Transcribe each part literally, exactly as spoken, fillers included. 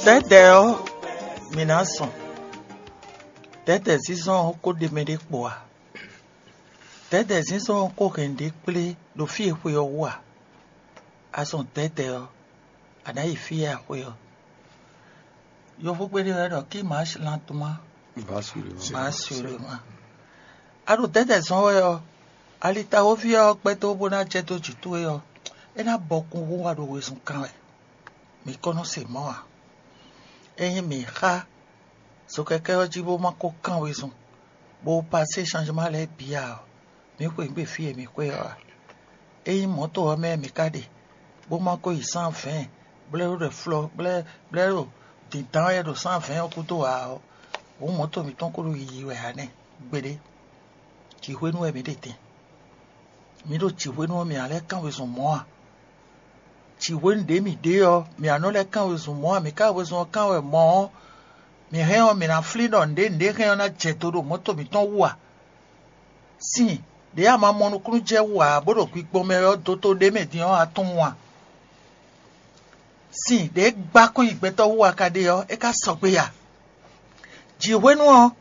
Tɛ́tɛ́ ɔ́, mǐ ná zɔn. Tɛ́tɛ́ zínzɔ́n ɔ́ ko ɖe mɛ ɖé kpo ǎ. Tɛ́tɛ́ zínzɔ́n ɔ́ ko hɛn nǔɖé kplé ɖo fí e xwe ɔ́ wú ǎ. A zɔn tɛ́tɛ́ ɔ́, a nǎ yi fí e a xwe ɔ́. Yovógbé ɖé wɛ ɖɔ: "Qui marche lentement marche sûrement." A ɖo tɛ́tɛ́ zɔn wɛ ɔ́, alitawoví ɔ́ gbɛ́ dó bó ná jɛ dó jǐ towe ɔ́, é ná bɔkun wú wá ɖo wezun kan wɛ. Mǐ kɔn nɔ se mɔ̌ ǎ. Ényí mǐ xá zokɛkɛ́ ɔ́ jí bó ma ko kán wezun, bó pasé changement lɛ́ɛ bǐ ǎ ɔ́, mǐ xweyǐgbe fí e mǐ xwe ɔ́ ǎ. Ényí mɔ̌to ɔ́ mɛ mǐ ka ɖe, bó ma ko yi cent vingt, bó lɛ́ ɖo ɖɔ flɔ, bó lɛ́ bó lɛ́ ɖo dǐndán wɛ ɖo cent vingt ɔ́ gúdo ǎ ɔ́, hǔn mɔ̌to mǐtɔn ko ɖo yiyi wɛ ǎ nɛ́ gbeɖé. Jǐxwénu wɛ mǐ ɖe din. Mǐ ɖo jǐxwénu ɔ́, mǐ ná lɛ́ kán wezun mɔ̌ a? Jǐxwénu ɖě mǐ ɖe ɔ́, mǐ ná nɔ lɛ́ kán wezun mɔ̌ a? Mǐ ka wezun ɔ́ kán wɛ mɔ̌ ɔ́, mǐ hɛn ɔ́, mǐ ná flín ɖɔ nǔɖé nǔɖé hɛn ɔ́ ná jɛ do ɖo mɔ̌to mǐtɔn wú a? Sin ɖě a ma mɔ nukúnnú jɛ wú ǎ, bó ɖo gbigbɔn mɛ ɔ́, doto ɖé mɛ din ɔ́, a tunwun a? Sin ɖě gbá kɔn nyi gbɛtɔ́ wú a ka ɖe ɔ́, é ka sɔgbe a? Jǐxwénu ɔ́,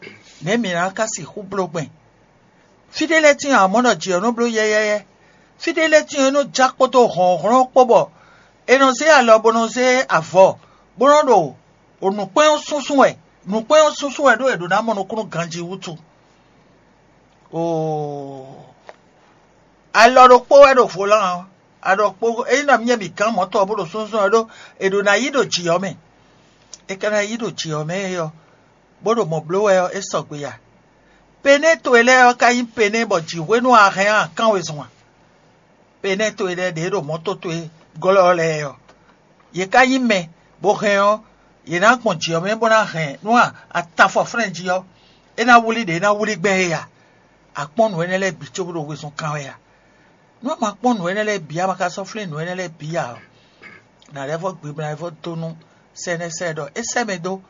nɛ̌ mǐ ná ka sixú bló gbɛn? Fí ɖé lɛ́ɛ tíin ɔ́, a mɔ ɖɔ jǐ ɔ́ nɔ bló yɛ́yɛ́yɛ́. Fí ɖé lɛ́ɛ tíin ɔ́, é nɔ já kpódó hlɔ̌nhlɔ́n kpó bɔ è nɔ zé alɔ bó nɔ zé avɔ, bó nɔ ɖo nǔkpɛ́n ɔ́ súnsún wɛ. Nǔkpɛ́n ɔ́ súnsún wɛ ɖó è ɖǒ ná mɔ nukúnnú ganjí wútu. Oo, alɔ ɖokpó wɛ ɖo volán ɔ́, alɔ ɖokpó ényí nɔ myɛ bǐ gán mɔ̌ tɔn ɔ́ bó ɖo súnsún ɔ́ ɖó è ɖǒ ná yí ɖo jǐ ɔ́ mɛ. È ka ná yí ɖo jǐ ɔ́ mɛ é ɔ́, bó ɖo mɔ̌ bló wɛ ɔ́, é sɔgbe ya. Penɛ́ towe lɛ́ɛ ɔ́ ka nyí penɛ́ bɔ jǐ hwenu a hɛn a kán wezun a? Penɛ́ towe lɛ́ɛ ɖě ɖo mɔ̌ towe glɔ́ lɛ́ɛ ɔ́, yě ka nyí mɛ, bó hɛn ɔ́, yě ná gbɔn jǐ ɔ́ mɛ bó ná hɛn nú atafɔflɛ́n jí ɔ́, é ná wlí ɖě é ná wlí gbɛn é a? A kpɔ́n nǔ énɛ́ lɛ́ɛ bǐ cóbó ɖo wezun kan wɛ a? Nú a ma kpɔ́n nǔ énɛ́ lɛ́ɛ bǐ, a ma ka sɔ́ flín nǔ énɛ́ lɛ́ɛ bǐ ǎ ɔ́, nǎ lɛ́ vɔ́ gbimla vɔ́ dó nú sɛ́nɛ́sɛ́ ɖɔ é sɛ́ mɛ dó,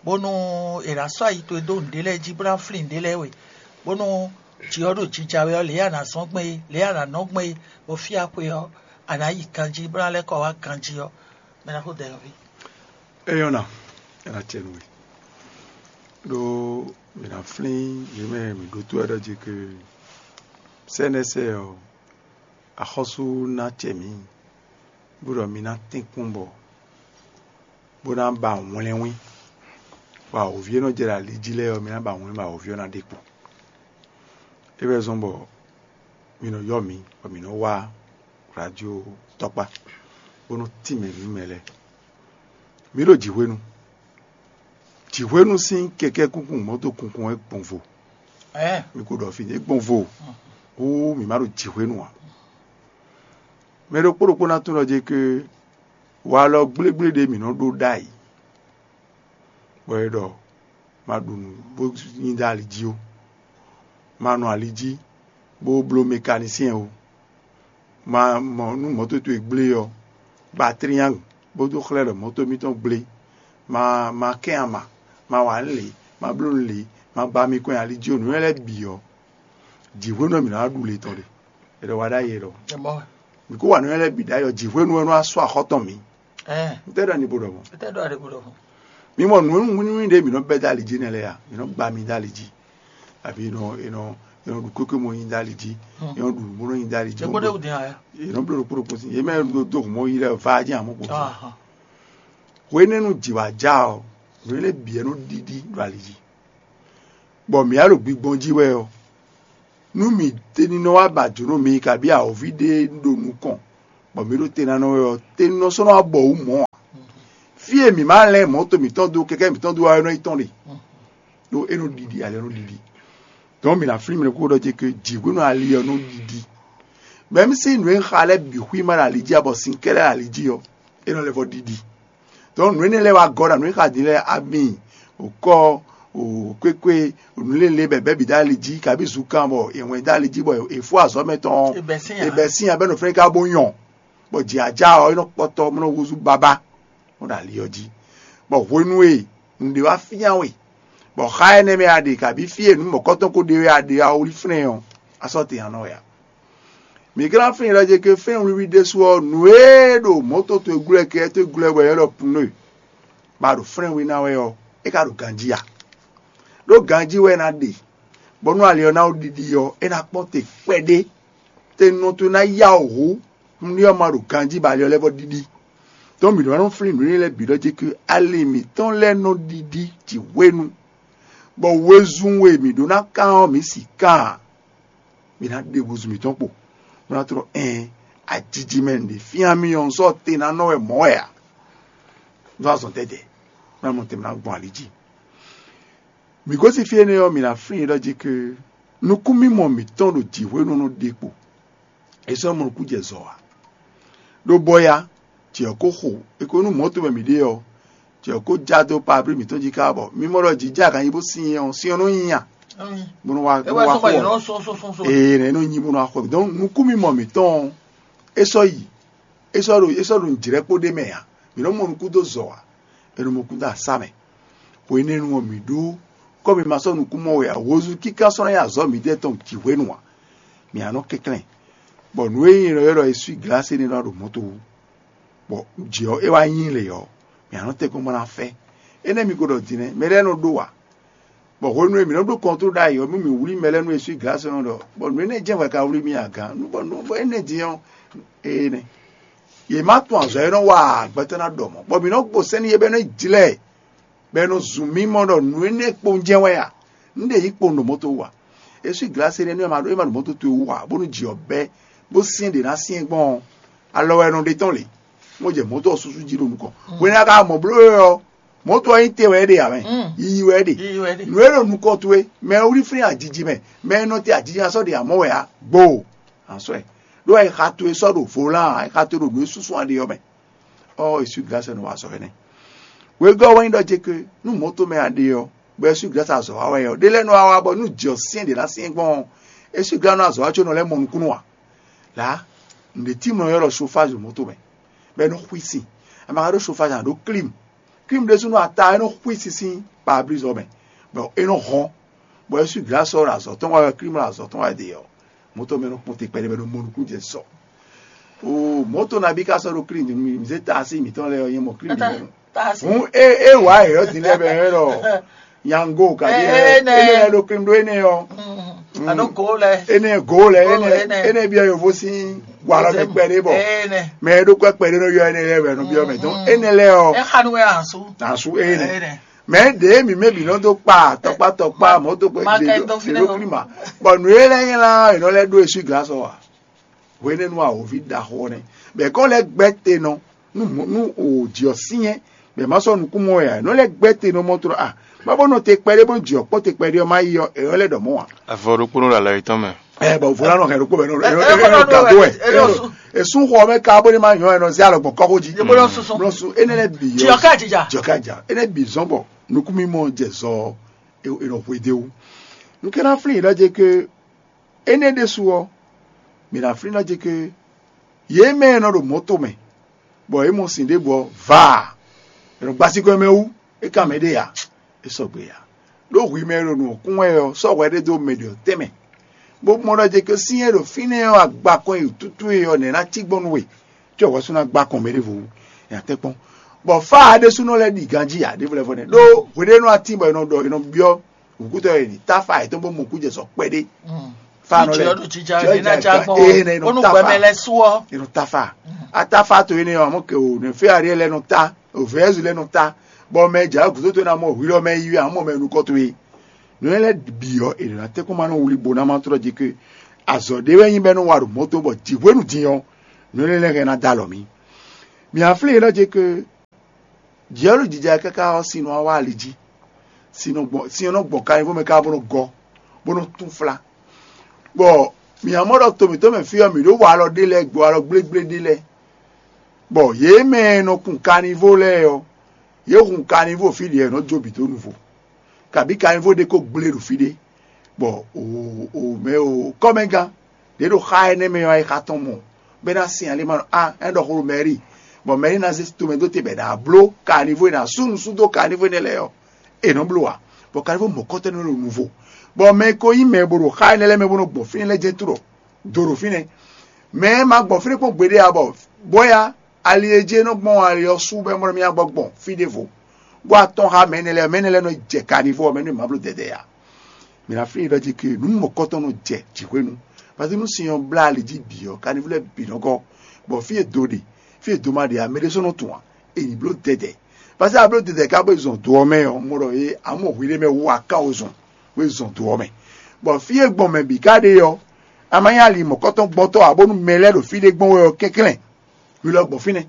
bónú è nǎ sɔ́ ayi towe dó nǔɖé lɛ́ɛ jí bó ná flín nǔɖé lɛ́ɛ we, bónú jǐ ɔ́ ɖo jija wɛ ɔ́, lě e a nǎ zɔ́n gbɛn é, lě e a nǎ nɔ gbɛn é, bɔ fí e a xwe ɔ́, a nǎ yi ganjí bó ná lɛ́ kɔ wá ganjí ɔ́, mɛ ná xó dɛ nɔví. É nyɔ́ ná, é ná cɛ nú we. Ɖó mǐ ná flín yě mɛ mǐ ɖótó wɛ ɖɔ jí ke sɛ́nɛ́sɛ́ ɔ́, axɔ́sú ná cɛ mǐ, bó ɖɔ mi ná tɛ́nkpɔ́n bɔ bó ná ba wlɛ́nwín, bɔ awǒvi e nɔ jɛ ɖo ali jí lɛ́ɛ ɔ́, mi ná ba wlɛ́nwín bɔ awǒvi ɔ́ ná ɖe kpo. É wɛ zɔ́n bɔ mi nɔ ylɔ́ mǐ, bɔ mǐ nɔ wá radio tɔkpá, bó nɔ tínmɛ nǔ mɛ lɛ́ɛ. Mǐ ɖo jǐhwenu. Jǐhwenu sín kɛkɛ́ kunkun mɔ̌to kunkun wɛ gbɔn vo. Ɛɛ, Mi ko ɖɔ fí é gbɔn vo. Hú mǐ ma ɖo jǐhwenu ǎ. Mɛ ɖokpó ɖokpó ná tunwun ɖɔ jɛ ke walɔ gblégblé ɖé mǐ nɔ ɖó ɖ'ayǐ, bɔ é ɖɔ ma ɖu nǔ bó nyi dó ali jí ó, ma nɔ ali jí bó bló mɛkanisɛn ó, ma mɔ nú mɔ̌to towe gblé ɔ́, ba triangle bó dó xlɛ́ ɖɔ mɔ̌to mitɔn gblé, ma ma kɛn ama, ma wa nǔ lě, ma bló nǔ lě, ma gba mi kɔn nyi ali jí ó, nǔ lɛ́ɛ bǐ ɔ́, jǐhwenu ɔ́ mǐ ná wá ɖu le tɔn ɖe. È ɖɔ wa ɖ'ayǐ é ɖɔ. Ɛ mɔ wɛ. Mǐ kó wa nǔ lɛ́ɛ bǐ ɖ'ayǐ ɔ́, jǐhwenu ɛ nɔ wá sɔ́ axɔ́ tɔn mǐ. Ɛɛ, Ntɛ́ ɖɔ ni bo ɖɔ mɔ̌? Ntɛ́ ɖɔ ni bo ɖɔ mɔ̌? Mi mɔ nǔ nǔnywí ɖé mǐ nɔ bɛ́ dó ali jí nɛ́ lɛ́ɛ a? Mǐ nɔ gba mi dó ali jí, abǐ è nɔ è nɔ è nɔ ɖu kwékwe mɔ nyi dó ali jí, è nɔ ɖu nǔ bó nɔ nyi dó ali jí. Ɖokpó ɖé wú din aya. È nɔ bló ɖokpó ɖokpó sín. È mɛ ɖo dó hǔn mɔ yi lɛ́ɛ va jí amɔ kpo. Ahan. Hwenɛ́nu jǐ wá já ɔ́, nǔ énɛ́ bǐ wɛ nɔ ɖiɖi ɖo ali jí, bɔ mǐ wá ɖo gbigbɔn jí wɛ ɔ́, nú mǐ tɛ́ ní nɔ wá ba jǒnɔ mi kabí awǒvi ɖé ɖo nukɔn, bɔ mǐ ɖo te ná nɔ wɛ ɔ́, te nɔ sɔ́ nɔ wá bɔ wǔ mɔ̌ ǎ. Fí e mǐ ma lɛ́n mɔ̌to mǐtɔn dó kɛkɛ́ mǐtɔn dó wá ɔ́, é nɔ yi tɔn ɖe, ɖó é nɔ ɖiɖi ali ɔ́ nɔ ɖiɖi. Donc mǐ ná flín mì ɖokpó ɖɔ ce ke jǐ hwenu ali ɔ́ nɔ ɖiɖi. Mɛ̌ mí sín nǔ e xa lɛ́ɛ bǐ xwí ma ɖo ali jí ǎ, bɔ sin kɛ́ɖɛ́ ɖo ali jí ɔ́, é nɔ lɛ́ vɔ ɖiɖi. Donc nǔ énɛ́ lɛ́ɛ wá gɔ́ ɖo nǔ e xa din lɛ́ɛ, ami, wǒkɔ, kwékwe, nǔ lélé bɛ̌bɛ́ bǐ dó ali jí, kabí zunkan bɔ è wɛn dó ali jí bɔ è fó azɔ̌ mɛtɔn ɔ́, è bɛ̌ sín ǎ bɛ́ nɔ fɛ́n ká bó nyɔ, bɔ jǐ ajá ɔ́, é nɔ kpɔtɔ bó nɔ húzú babá, bó ɖo ali ɔ́ jí. Bɔ hwenu e nǔɖé wá fyán we, bɔ xá énɛ́ mɛ a ɖe, kabí fí e nǔ mɔ̌kɔtɔn ko ɖe wɛ a ɖe a wlí flɛ́n ɔ́, a sɔ́ tɛn a nɔ wɛ a? Mǐ ka ná flín ɖɔ ce ke fɛ́n wiwi ɖésú ɔ́, nǔ e ɖo mɔ̌to towe glɔ́ kɛ towe glɔ́ bɔ è nɔ ɖɔ pneu, Ba ɖo flɛ́n we ná wɛ ɔ́, é ka ɖo ganjí a? Ɖó ganjí wɛ é ná ɖe, bɔ nú ali ɔ́ ná ɖiɖi ɔ́, é ná kpɔ́n te kpɛɖé. Te nɔ towe ná yá wǔ hú, nú ɔ́ ma ɖo ganjí bɔ ali ɔ́ lɛ́ vɔ ɖiɖi. Tɔn mǐ ɖó ná nɔ flín nǔ énɛ́ lɛ́ɛ bǐ ɖɔ jí ké ali mǐtɔn lɛ́ɛ nɔ ɖiɖi jǐ hwenu, bɔ wezun e mǐ ɖó ná kán ɔ́, mǐ si kán ǎ. Mǐ ná ɖe húzú mǐtɔn kpo, bó ná tlɔ́ ɛn ajiji mɛ nǔɖé fíán mì ɔ́, un sɔ́ te ná nɔ wɛ mɔ̌ wɛ ǎ. Ɖó azɔn tɛ́tɛ́, bó ná mɔ tɛn bó ná gbɔn ali jí. Mǐ gosín fí énɛ́ ɔ́, mǐ ná flín ɖɔ jí ké nukúnmimɔ mǐtɔn ɖo jǐ hwenu nɔ ɖe kpo. È sɔ́ mɔ nukún jɛ zɔ ǎ. Ɖó bɔ ya, jǐ ɔ́ ko xo, è ko nú mɔ̌ tɔn mɛ mǐ ɖe ɔ́, jǐ ɔ́ ko já dó pablí mǐtɔn jí káká bɔ mi mɔ ɖɔ jǐ jɛ aganjí bó sin ɔ́, sin ɔ́ nɔ nyi a? Bó nɔ wá bó nɔ wá xo ɔ́. Ee, nɛ nɔ nyi bó nɔ wá xo. Donc nukúnmimɔ mǐtɔn ɔ́, é sɔ́ yi, é sɔ́ ɖo é sɔ́ ɖo nǔjlɛ́ kpó ɖé mɛ ǎ. Mǐ nɔ mɔ nukún dó zɔ ǎ. È nɔ mɔ kún dó asá mɛ. Hwenɛ́nu ɔ́, mǐ ɖó kɔ́ mi ma sɔ́ nukún mɔ wɛ ǎ. Hozú kíká sɔ́ ná nyí azɔ̌ mǐdɛɛ tɔn jǐ hwenu ǎ. Mǐ á nɔ kɛnklɛ́n, bɔ nǔ e nyí è nɔ ylɔ́ ɖɔ eswíglase énɛ́ ná ɖo mɔ̌ to wú, bɔ jǐ ɔ́ é wá nyí lě ɔ́, mǐ á nɔ tɛ́nkpɔ́n bó ná fɛ́. Énɛ́ mi ko ɖɔ din nɛ́, mɛ lɛ́ɛ nɔ ɖó ǎ. Bɔ hwenu e mǐ nɔ ɖó kɔntró ɖ'ayǐ ɔ́, mí mǐ wlí mɛ lɛ́ɛ nú eswíglase ɔ́ ɖɔ, bɔ nǔ énɛ́ jɛ́n hwɛ ka wlí mì agǎn, nú bɔ nǔ bɔ énɛ́ din ɔ́, ee nɛ́. Yě má tunwun azɔ̌ e nɔ wa gbɛtɔ́ ná ɖɔ mɔ̌, bɔ mǐ nɔ gbo sɛ́n n'i é bɔ é nɔ jlɛ́ ɛ, bɔ è nɔ zun mì mɔ ɖɔ nǔ énɛ́ kpowun jɛ́n wɛ a? Un ɖe yǐ kpowun ɖo mɔ̌ towe wú a? Eswíglase énɛ́ nú é ma ɖo é ma ɖo mɔ̌ towe wú ǎ, bónú jǐ ɔ́ bɛ́, bó syɛ́n ɖě ná syɛ́n gbɔn ɔ́, alɔ wɛ è nɔ ɖe tɔ́n lě. Mɔ jɛ mɔ̌ tɔn ɔ́ súsú jí ɖo nukɔn. Hwenu e a ka mɔ bló é ɔ́, mɔ̌ tɔn ɔ́ nyí te wɛ é ɖe ǎ mɛ. Yiyi wɛ é ɖe. Nǔ e ɖo nukɔn towe, mɛ e wlí flín ajiji mɛ, mɛ e nɔ te ajiji ná sɔ́ ɖe amɔ̌ wɛ ǎ. Gbo, a sɔ́ ɛ. Ɖó ɛ xa towe sɔ́ ɖo volán ǎ, ɛ xa towe ɖo nǔ e súsú a ɖe ɔ́ mɛ. Ɔ́, eswíglase nɔ wa azɔ̌ énɛ́. Wegɔ́ wɛ nyí ɖɔ jeke nú mɔ̌ tɔn mɛ a ɖe ɔ́, bɔ eswíglase azɔ̌ wa wɛ ɔ́, ɖé lɛ́ɛ nɔ wa wá bɔ nú jǐ ɔ́ syɛ́n ɖě ná syɛ́n gbɔn ɔ́, eswíglase nɔ azɔ̌ wa có nɔ lɛ́ mɔ nukúnnú ǎ. Lǎ, nǔɖé tímlɔ ɔ́ ylɔ́ ɖɔ chauffage ɖo mɔ̌ tɔn mɛ, bɔ é nɔ xwí sin. A ma ka ɖó chauffage a nǎ ɖó clim. Clim ɖésúnɔ ata é nɔ xwí sin sín pare-brise ɔ́ mɛ, bɔ é nɔ hɔn, bɔ eswíglase ɔ́ ɖo azɔ̌ tɔn wa wɛ, clim ɖo azɔ̌ tɔn wa ɖe ɔ́, mɔ̌ tɔn mɛ nɔ kpɔ́n te kpɛɖé bɔ é nɔ mɔ nukún jɛ sɔ. Oo, mɔ̌ tɔn nabí ka sɔ́ ɖo klín din nú mì, mǐ zé taasi mǐtɔn lɛ́ɛ ɔ́ nyí mɔ klín mǐtɔn. Hǔn é é wǎ yě ɔ́ din lɛ́ɛ bɛ é ɖɔ nyango kaɖi Ɛ- ɛ- énɛ́. Énɛ́ lɛ́ɛ ɖo klín ɖó énɛ́ ɔ́. Alo go lɛ. Énɛ́ go lɛ Go énɛ́ énɛ́. Énɛ́ byɔ́ yovo sín walɔ mɛ kpɛɖé bɔ ɛnɛ. Mɛ e ɖó kɔ kpɛɖé nɔ yɔ énɛ́ lɛ́ɛ wɛ nɔ byɔ́ mɛ dɔn Mm. Énɛ́ lɛ́ɛ ɔ́ Ɛ xanu wɛ asu. Asu énɛ́. Ɛnɛ. Mɛ ɖě mi mɛ bǐ nɔ dó kpa tɔkpá tɔkpá mɔ̌ dó kpɛ Ma- ma kɛ dó fi ɖe nɔ. Ɖo klín ma. Bɔ nǔ e lɛ́ɛ nylá è nɔ lɛ́ ɖó eswíglase ɔ́ a? Hwenɛ́nu awǒvi ɖaxó ɔ́ nɛ́. Bɔ è kɔn lɛ́ gbɛ́ te nɔ nú mɔ̌- nú òjì ɔ́ syɛ́n, bɔ è má sɔ́ nukún mɔ wɛ ǎ. È nɔ lɛ́ gbɛ́ te nɔ mɔ tlɔ a? Má bó nɔ te kpɛɖé bó jǐ ɔ́ kpɔ́ te kpɛɖé ɔ́ má yi ɔ́, è nɔ lɛ́ ɖɔ mɔ̌ ǎ. Avɔ ɖokpó nɔ ɖo alɔ yětɔn mɛ. Ɛ bɔ vo lánɔ hɛn ɖokpó bɛ nɔ Ɛ- ɛ- ɛ- ɛ- gado wɛ. ɛ- ɛ- ɛ- Èsún xɔ mɛ ka bó ní ma nyɔ ɛ nɔ zé alɔ gbɔn kɔxó jí. Ye bó lɔ susu. Blɔ su énɛ́ lɛ́ bì Jì ɔ́ ká jìjà. Jì ɔ́ ká jà. Énɛ́ bì zɔn bɔ nukún mímɔ jɛ zɔ ɛ nɔ hwe dé wú. Nukɛ́ná flín yě ɖɔ jɛ ke énɛ́ ɖésú ɔ́, mǐ ná flín ná jɛ ké yě mɛ e nɔ ɖo mɔ̌ tomɛ, bɔ yě mɔ sin ɖěbǔ ɔ́, vaa, è nɔ gbá síkɔ́ mɛ wú, é ka mɛ ɖé ǎ, é sɔgbe ǎ. Ɖó hwi mɛ e ɖo nǔ ɔ́ kún wɛ ɔ́, sɔ́ hwɛ ɖé dó mɛ ɖě ɔ́ tɛ́nmɛ, bó mɔ ɖɔ jɛ ké sín e ɖo fínɛ́ ɔ́, agbakɔn e tutú e ɔ́, nɛ̌ ná cí gbɔn nú we, có hwɛ sú ná gbá kɔn mɛ ɖěvo wú, è nǎ tɛ́ kpɔ́n. Bɔ fá ǎ ɖésúnɔ lɛ́ɛ ɖi ganjí ǎ, ɖěvo lɛ́ɛ vɔ nɛ́. Ɖó hweɖénu atín bɔ è nɔ ɖɔ, è nɔ byɔ́ wǔkútɔ́ e ɖi táfa yětɔn bó mɔ kú jɛ sɔ kpɛɖé. Fa nɔ lɛ Jɔ ɖo jija Jɔ ɖe na jija ja gbɔn. Ee, ne nɔ Onu tafa. Gbɛmɛ lɛ suɔ. E nɔ tafa. Atafa to ene ɔmɔ ke o ne fe ari lɛ nɔ ta, o vɛzu lɛ nɔ ta. Bɔ mɛ ja gudo to na mɔ hwi lɔ mɛ yi amɔ mɛ nukɔ to ye. Nɔ lɛ bi ɔ e na te ko ma nɔ wuli bo na ma trɔ ji ke. Azɔ de wɛ nyi bɛ nɔ wa ɖo mɔto bɔ ji hwenu din ɔ. Nɔ lɛ lɛ hɛn na da lɔ mi. Mi aflin e nɔ je ke Jǐ ɔ́ ɖo jija káká ɔ́, sin nɔ wá ali jí. Sin nɔ gbɔn sin ɔ́ nɔ gbɔn kanyivo mɛ káká bó nɔ gɔ́, bó nɔ tún flá. Bɔ mǐ ná mɔ ɖɔ to mǐtɔn mɛ fí ɔ́, mǐ ɖó wa alɔ ɖé lɛ́ɛ, gbo alɔ gblégblé ɖé lɛ́ɛ, bɔ yě mɛ e nɔ kun kanyivo lɛ́ɛ ɔ́, yě hun kanyivo fí ɖě ɔ́, è nɔ jó bǐ dó nuvo, kabǐ kanyivo ɖé ko gblé ɖo fí ɖé. Bɔ o o mɛ o kɔ́mɛgán ɖě ɖo xá énɛ́ mɛ ɔ́, é xa tɔn mɔ bɔ é ná sin ali ma ɖɔ a é ɖɔ xó ɖo mɛri, bɔ mɛri ná zé tomɛ dó te bɔ è nǎ bló kanivo e nǎ sú nǔsúdó kanivo énɛ́ lɛ́ɛ ɔ́, è nɔ bló ǎ. Bɔ kanivo mɔ̌kɔtɔ́ nɔ ɖo nuvo, bɔ mɛ e ko nyí mɛ e bo ɖo xá énɛ́ lɛ́ɛ mɛ bó nɔ gbɔn fínɛ́ lɛ́ɛ jɛ́n tlɔ do ɖo fínɛ́. Mɛ e ma gbɔn fínɛ́ kpɔ́n gbeɖé ǎ, bɔ bɔ́ya ali e jí é nɔ gbɔn ali ɔ́ sú bɔ é mɔ mì gbɔ gbɔn fí ɖěvo. Bó atɔn xá mɛ énɛ́ lɛ́ɛ, mɛ énɛ́ lɛ́ɛ nɔ jɛ kanivo ɔ́ mɛ nú mǎ bló dɛdɛ ǎ. Mǐ ná flín ɖɔ jí ke nǔ mɔ̌kɔtɔn nɔ jɛ jǐxwé nu. Pasi nú sin ɔ́ blá ali jí bǐ ɔ́, kanivo lɛ́ɛ bǐ nɔ gɔ́, bɔ fí e do ɖe, fí e do ma ɖe ǎ, mɛ ɖé sɔ́ nɔ tunwun ǎ. È nǐ bló dɛdɛ. Pasi a bló dɛdɛ ká bó zɔn do ɔ́ mɛ ɔ́, mɔ ɖɔ é amɔ hwi ɖé mɛ wú aká o zɔn, bó zɔn do ɔ́ mɛ. Bɔ fí e gbɔn mɛ bǐ ká ɖe ɔ́, a ma nyí ali mɔ̌kɔtɔn gbɔntɔ́ ǎ, bónú mɛ lɛ́ɛ ɖo fí ɖé gbɔn wɛ ɔ́ kɛnklɛ́n. Hwi lɔ gbɔn fínɛ́.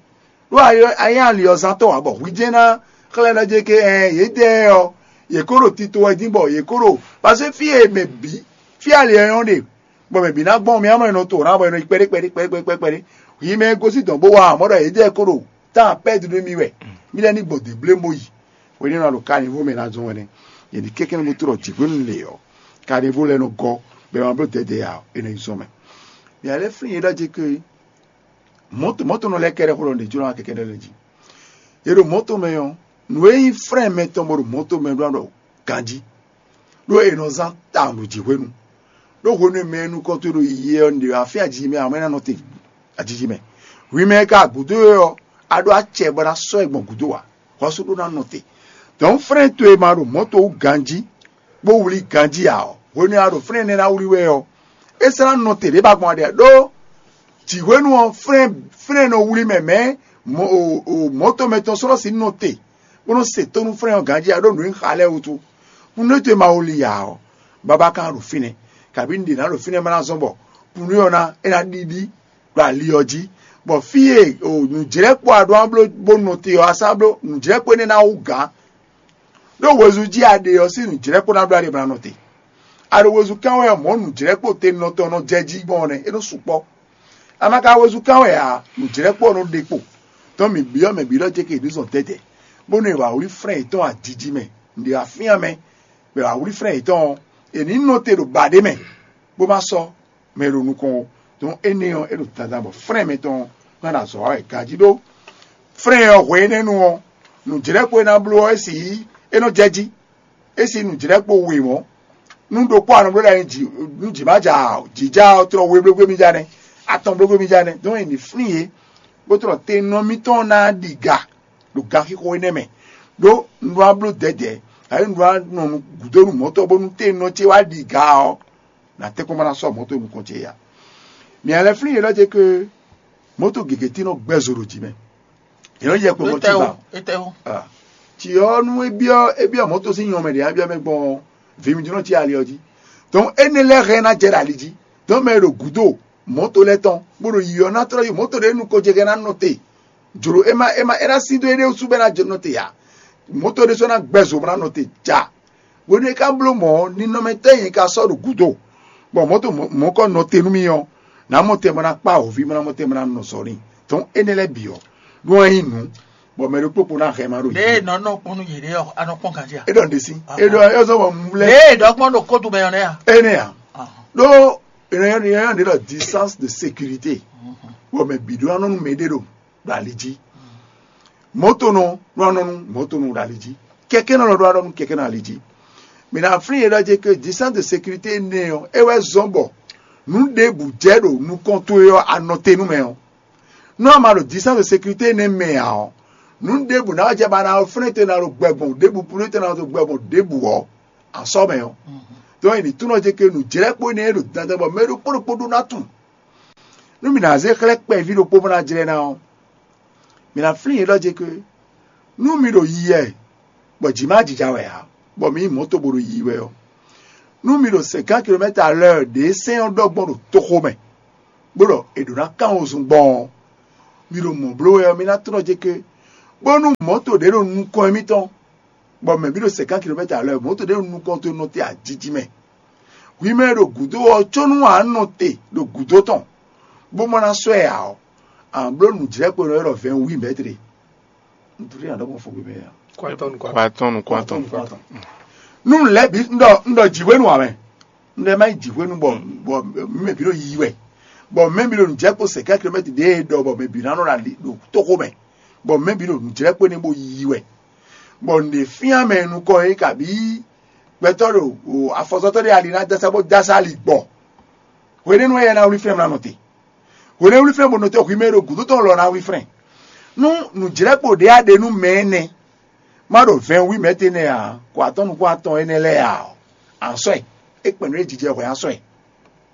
Ɖó a nyí ali ɔ́ zán tɔn ǎ, bɔ hwi jɛ́n ná xlɛ́ ná jɛ ké ɛn yědɛɛ ɔ́, yě kó ɖo tito wɛ dín bɔ yě kó ɖo, pase fí e mɛ bǐ, fí ali ɔ́ nyɔ́ ɖe, bɔ mɛ bǐ ná gbɔn mì amlɔ nɔ to ná bɔ è nɔ yi kpɛɖé kpɛɖé kpɛɖé kpɛɖé kpɛɖé. Yi mɛ gosín dɔn bó wá mɔ̌ ɖɔ yědɛɛ kó ɖo tán pɛ́ dúdú mi wɛ. Mí lɛ́ ní gbɔn dě blé bó yi. Hwenɛ́nu a ɖo kanivo mɛ ná zɔn wɛ nɛ́. Yě ní kɛ́kɛ́ nɔ bó trɔ jǐxwénu lě ɔ́, kanivo lɛ́ɛ nɔ gɔ́, bɔ è ma bló dɛdɛ ǎ, è nɔ yi zɔn mɛ. Mǐ a lɛ́ flín yě ɖɔ jɛ ké mɔ̌to mɔ̌to nɔ lɛ́ɛ kɛ́ɖɛ́ xó ɖɔ nǔɖé jló ná kɛkɛ́ ɖɔ lɛ́ɛ jí. È ɖo mɔ̌to mɛ ɔ́, nǔ e nyí frɛ́n mɛtɔn bɔ ɖo mɔ̌to mɛ ɖó ná ɖɔ ganjí, ɖó è nɔ zán tawun ɖo jǐxwénu. Ɖó hwenu e mɛ e nukɔn towe ɖo yiyi wɛ ɔ́, un ɖe afín ajiji mɛ, amɔ̌ é ná nɔ te ajiji mɛ. Hwi mɛ e ka gǔdo é ɔ́, a ɖó acɛ bɔ ná sɔ́ ɛ gbɔn gǔdo ǎ, xɔ́sú ɖó ná nɔ te. Dɔ̌n frɛ́n towe ma ɖo mɔ̌to wú ganjí, bó wlí ganjí ǎ ɔ́, hwenu e a ɖo frɛ́n énɛ́ ná wlí wɛ ɔ́, é sɔ́ ná nɔ te ɖě ba gbɔn aɖɛ ɖó jǐhwenu ɔ́, frɛ́n frɛ́n nɔ wlí mɛ mɛ̌ mɔ̌to mɛtɔn sɔ́ nɔ sixú nɔ te, bó nɔ́ se tónú frɛ́n ɔ́ ganjí ǎ ɖó nǔ e un xa lɛ́ɛ wútu. Nú é to e ma wlí ǎ ɔ́, babá ka ɖo fínɛ́, kabǐ un ɖe nǎ ɖo fínɛ́ ma ná zɔ́n bɔ kúnnu ɔ́ ná é ná ɖiɖi ɖo ali ɔ́ jí, bɔ fí e nǔjlɛ́kpɔ́ a ɖó ná bló bó nɔ te ɔ́, a sá bló nǔjlɛ́kpɔ́ énɛ́ ná wú gǎn. Ɖó wezun jí a ɖe ɔ́ sín nǔjlɛ́kpɔ́ ná bló a ɖe bó ná nɔ te. A ɖo wezun kán wɛ ɔ́, mɔ̌ nǔjlɛ́kpɔ́ tenɔ tɔn nɔ jɛ jí gbɔn ɔ́ nɛ́, é nɔ sukpɔ́. A ma ka wezun kán wɛ ǎ, nǔjlɛ́kpɔ́ ɔ́ nɔ ɖe kpo. Tɔn mǐ byɔ́ mɛ bǐ ɖɔ jɛ ke ɖǐ zɔn tɛ́tɛ́, bónú è wǎ wlí frɛ́n yětɔn ajiji mɛ, ɖě afíán mɛ, bɔ è wǎ wlí frɛ́n yětɔn ɔ́, è nǐ nɔ te ɖo baɖě mɛ, bó má sɔ́ mɛ e ɖo nukɔn ó. Dɔn énɛ́ ɔ́, é ɖo dandan bɔ frɛ́n mɛtɔn ɔ́ ná ɖo azɔ̌ wa wɛ ganjí ɖó. Frɛ́n ɔ́ hwe énɛ́ nu ɔ́, nǔjlɛ́kpo e ná bló ɔ́, é sixú é nɔ jɛ jí. É sixú nǔjlɛ́kpo we mɔ̌. Nú ɖokpó anɔ bló ɖo nú jǐ má ja ǎ, jǐ ja ɔ́, tlɔ we blógbé mì ja nɛ́, atɔn blógbé mì ja nɛ́. Dɔn è nǐ flín yě, bó tlɔ te nɔ mítɔn ná ɖi ga ɖo ganxixo énɛ́ mɛ. Ɖó un ɖó ná bló dɛ̌dɛ̌, ǎ un ɖó ná nɔ gǔdo nú mɔ̌tɔn bónú te nɔ ce wá ɖi ga ɔ́, nǎ tɛ́nkpɔ́n ma ná sɔ́ mɔ̌ to nukɔn ce ya. Mǐ lɛ́ flín yě ɖɔ ce ke mɔ̌ to gěgé tí nɔ gbɛ́ zo ɖo jǐ mɛ. Yě nɔ yɛ kpɔ́ mɔ̌ tí ba. Etɛwo. Tsi ɔ́ nú é byɔ́ é byɔ́ mɔ̌ to sín nyɔmɛ ɖě á byɔ́ mɛ gbɔn vǐmijínɔ ce ali ɔ́ jí. Dɔn énɛ́ lɛ́ɛ hɛn ná jɛ ɖo ali jí. Dɔn mɛ e ɖo gǔdo mɔ̌ to lɛ́ɛ tɔn bó ɖo yiyi ɔ́ ná tlɔ́ yi mɔ̌ to ɖě nukɔn ce hɛn ná nɔ te. Jlǒ é má é má é ná sín dó éɖée wútu bɔ é ná jɛ nɔ te ǎ. Mɔ̌ to ɖésú ná gbɛ zo bó ná nɔ te ja. Hwenu e ka bló mɔ̌ ɔ́, ninɔmɛtɔ́ e nyɛ ka sɔ́ ɖo gǔdo, bɔ mɔ̌ to mɔ̌kɔ nɔ te nú mì ɔ́, nǎ mɔ tɛn bɔ ná kpá hɔ̌ví bó ná mɔ tɛn bɔ ná nɔ zɔ n'i. Dɔn énɛ́ lɛ́ɛ bǐ ɔ́, nú a nyí nǔ, bɔ mɛ ɖokpó kpo ná hɛn ma ɖo Ɖěe yě. Nɔ nɔ kpɔ́n nú yě ɖé ɔ́, a nɔ kpɔ́n ganjí a? É ɖɔ ɖe sí. É ɖɔ é zɔ bɔ mu lɛ́. Ɖěe ɖɔ kpɔ́n ɖo kótu mɛ ɔ́ nɛ́ a? Énɛ́ ǎ. Ɖó ènìyàn ɖe ɖɔ distance de sécurité. Bɔ mɛ bǐ ɖó anɔ nú mɛ ɖé ɖo ɖo ali jí. Mɔ̌tonɔ nɔ anɔ nú mɔ̌tonɔ ɖo ali jí. Kɛkɛ́nɔ lɔ ɖó anɔ nú kɛkɛ́nɔ ali jí. Mǐ ná flín yě ɖɔ jɛ ke distance de sécurité énɛ́ ɔ́, é wɛ zɔ́n bɔ nǔ ɖěbǔ jɛ ɖo nukɔn towe ɔ́, a nɔ te nú mɛ ɔ́. Nú a ma ɖo distance de sécurité énɛ́ mɛ ǎ ɔ́, nǔ ɖěbǔ ná wá jɛ ba ná flɛ́n te ná ɖo gbɛ gbɔn ɖěbǔ, plú te ná ɖo gbɛ gbɔn ɖěbǔ ɔ́, a sɔ́ mɛ ɔ́. Dɔn è nǐ túnɔ jɛ ke nǔjlɛ́kpo énɛ́ e ɖo dandan bɔ mɛ ɖokpó ɖokpó ɖó ná tunwun. Nú mǐ ná zé xlɛ́ kpɛví ɖokpó bó ná jlɛ́ ná ɔ́, mǐ ná flín yě ɖɔ jɛ ke nú mi ɖo yiyɛ bɔ jǐ má jija wɛ ǎ, bɔ mi nyí mɔ̌to bo ɖo yiyi wɛ ɔ́, nú mi ɖo cinquante kilomètres à l'heure ɖě sɛ́n ɔ́ ɖɔ gbɔn ɖo toxo mɛ, bó ɖɔ è ɖǒ ná kán wozun gbɔn ɔ́, mi ɖo mɔ̌ bló wɛ ɔ́, mi ná tlɔ́ jɛ ke, bónú mɔ̌to ɖě ɖo nukɔn émítɔn, bɔ mɛ bǐ ɖo cinquante kilomètres à l'heure, mɔ̌to ɖě ɖo nukɔn towe nɔ te ajiji mɛ. Hwi mɛ e ɖo gǔdo ɔ́, có nú a nɔ te ɖo gǔdo tɔn, bó ma ná sɔ́ ɛ ǎ ɔ́, a nǎ bló nǔjlɛ́kpo e nɔ ylɔ́ ɖɔ vingt-huit mètres. Un ɖó ná ɖɔ gbɔn fogbe mɛ ǎ. Kwatɔn, kwatɔn. Kwatɔn, kwatɔn. Nú un lɛ́ bǐ un ɖɔ un ɖɔ jǐhwenu ǎ mɛ. Un ɖɔ má yi jǐhwenu bɔ bɔ mɛ bǐ ɖo yiyi wɛ. Bɔ mɛ bǐ ɖo nǔjlɛ́kpo cinquante kilomètres ɖě e ɖɔ bɔ mɛ bǐ ná nɔ ɖo ali ɖo toxo mɛ. Bɔ mɛ bǐ ɖo nǔjlɛ́kpo énɛ́ bó yiyi wɛ. Bɔ nǔɖé fíán mɛ nukɔn é kabǐ gbɛtɔ́ ɖo afɔzɔtɔ́ ɖé ali ná dasa bó dasa ali gbɔ. Hwenɛ́nu wɛ yɛ ná wlí flɛ́n mlá nɔ te. Hwenɛ́nu wlí flɛ́n bó nɔ te hwi mɛ e ɖo gǔdo tɔn lɔ ná wlí flɛ́n. Nú nǔjlɛ́kpo ɖě a ɖe nú mɛ énɛ́, Má ɖo vɛn wí mɛ̌ tɛnɛ ǎ, kɔ atɔ́ nukún atɔn énɛ́ lɛ́ɛ ǎ ɔ́, ansɔ́ ɛ. É kpɛn nú é jijɛ hwɛ ansɔ́ ɛ.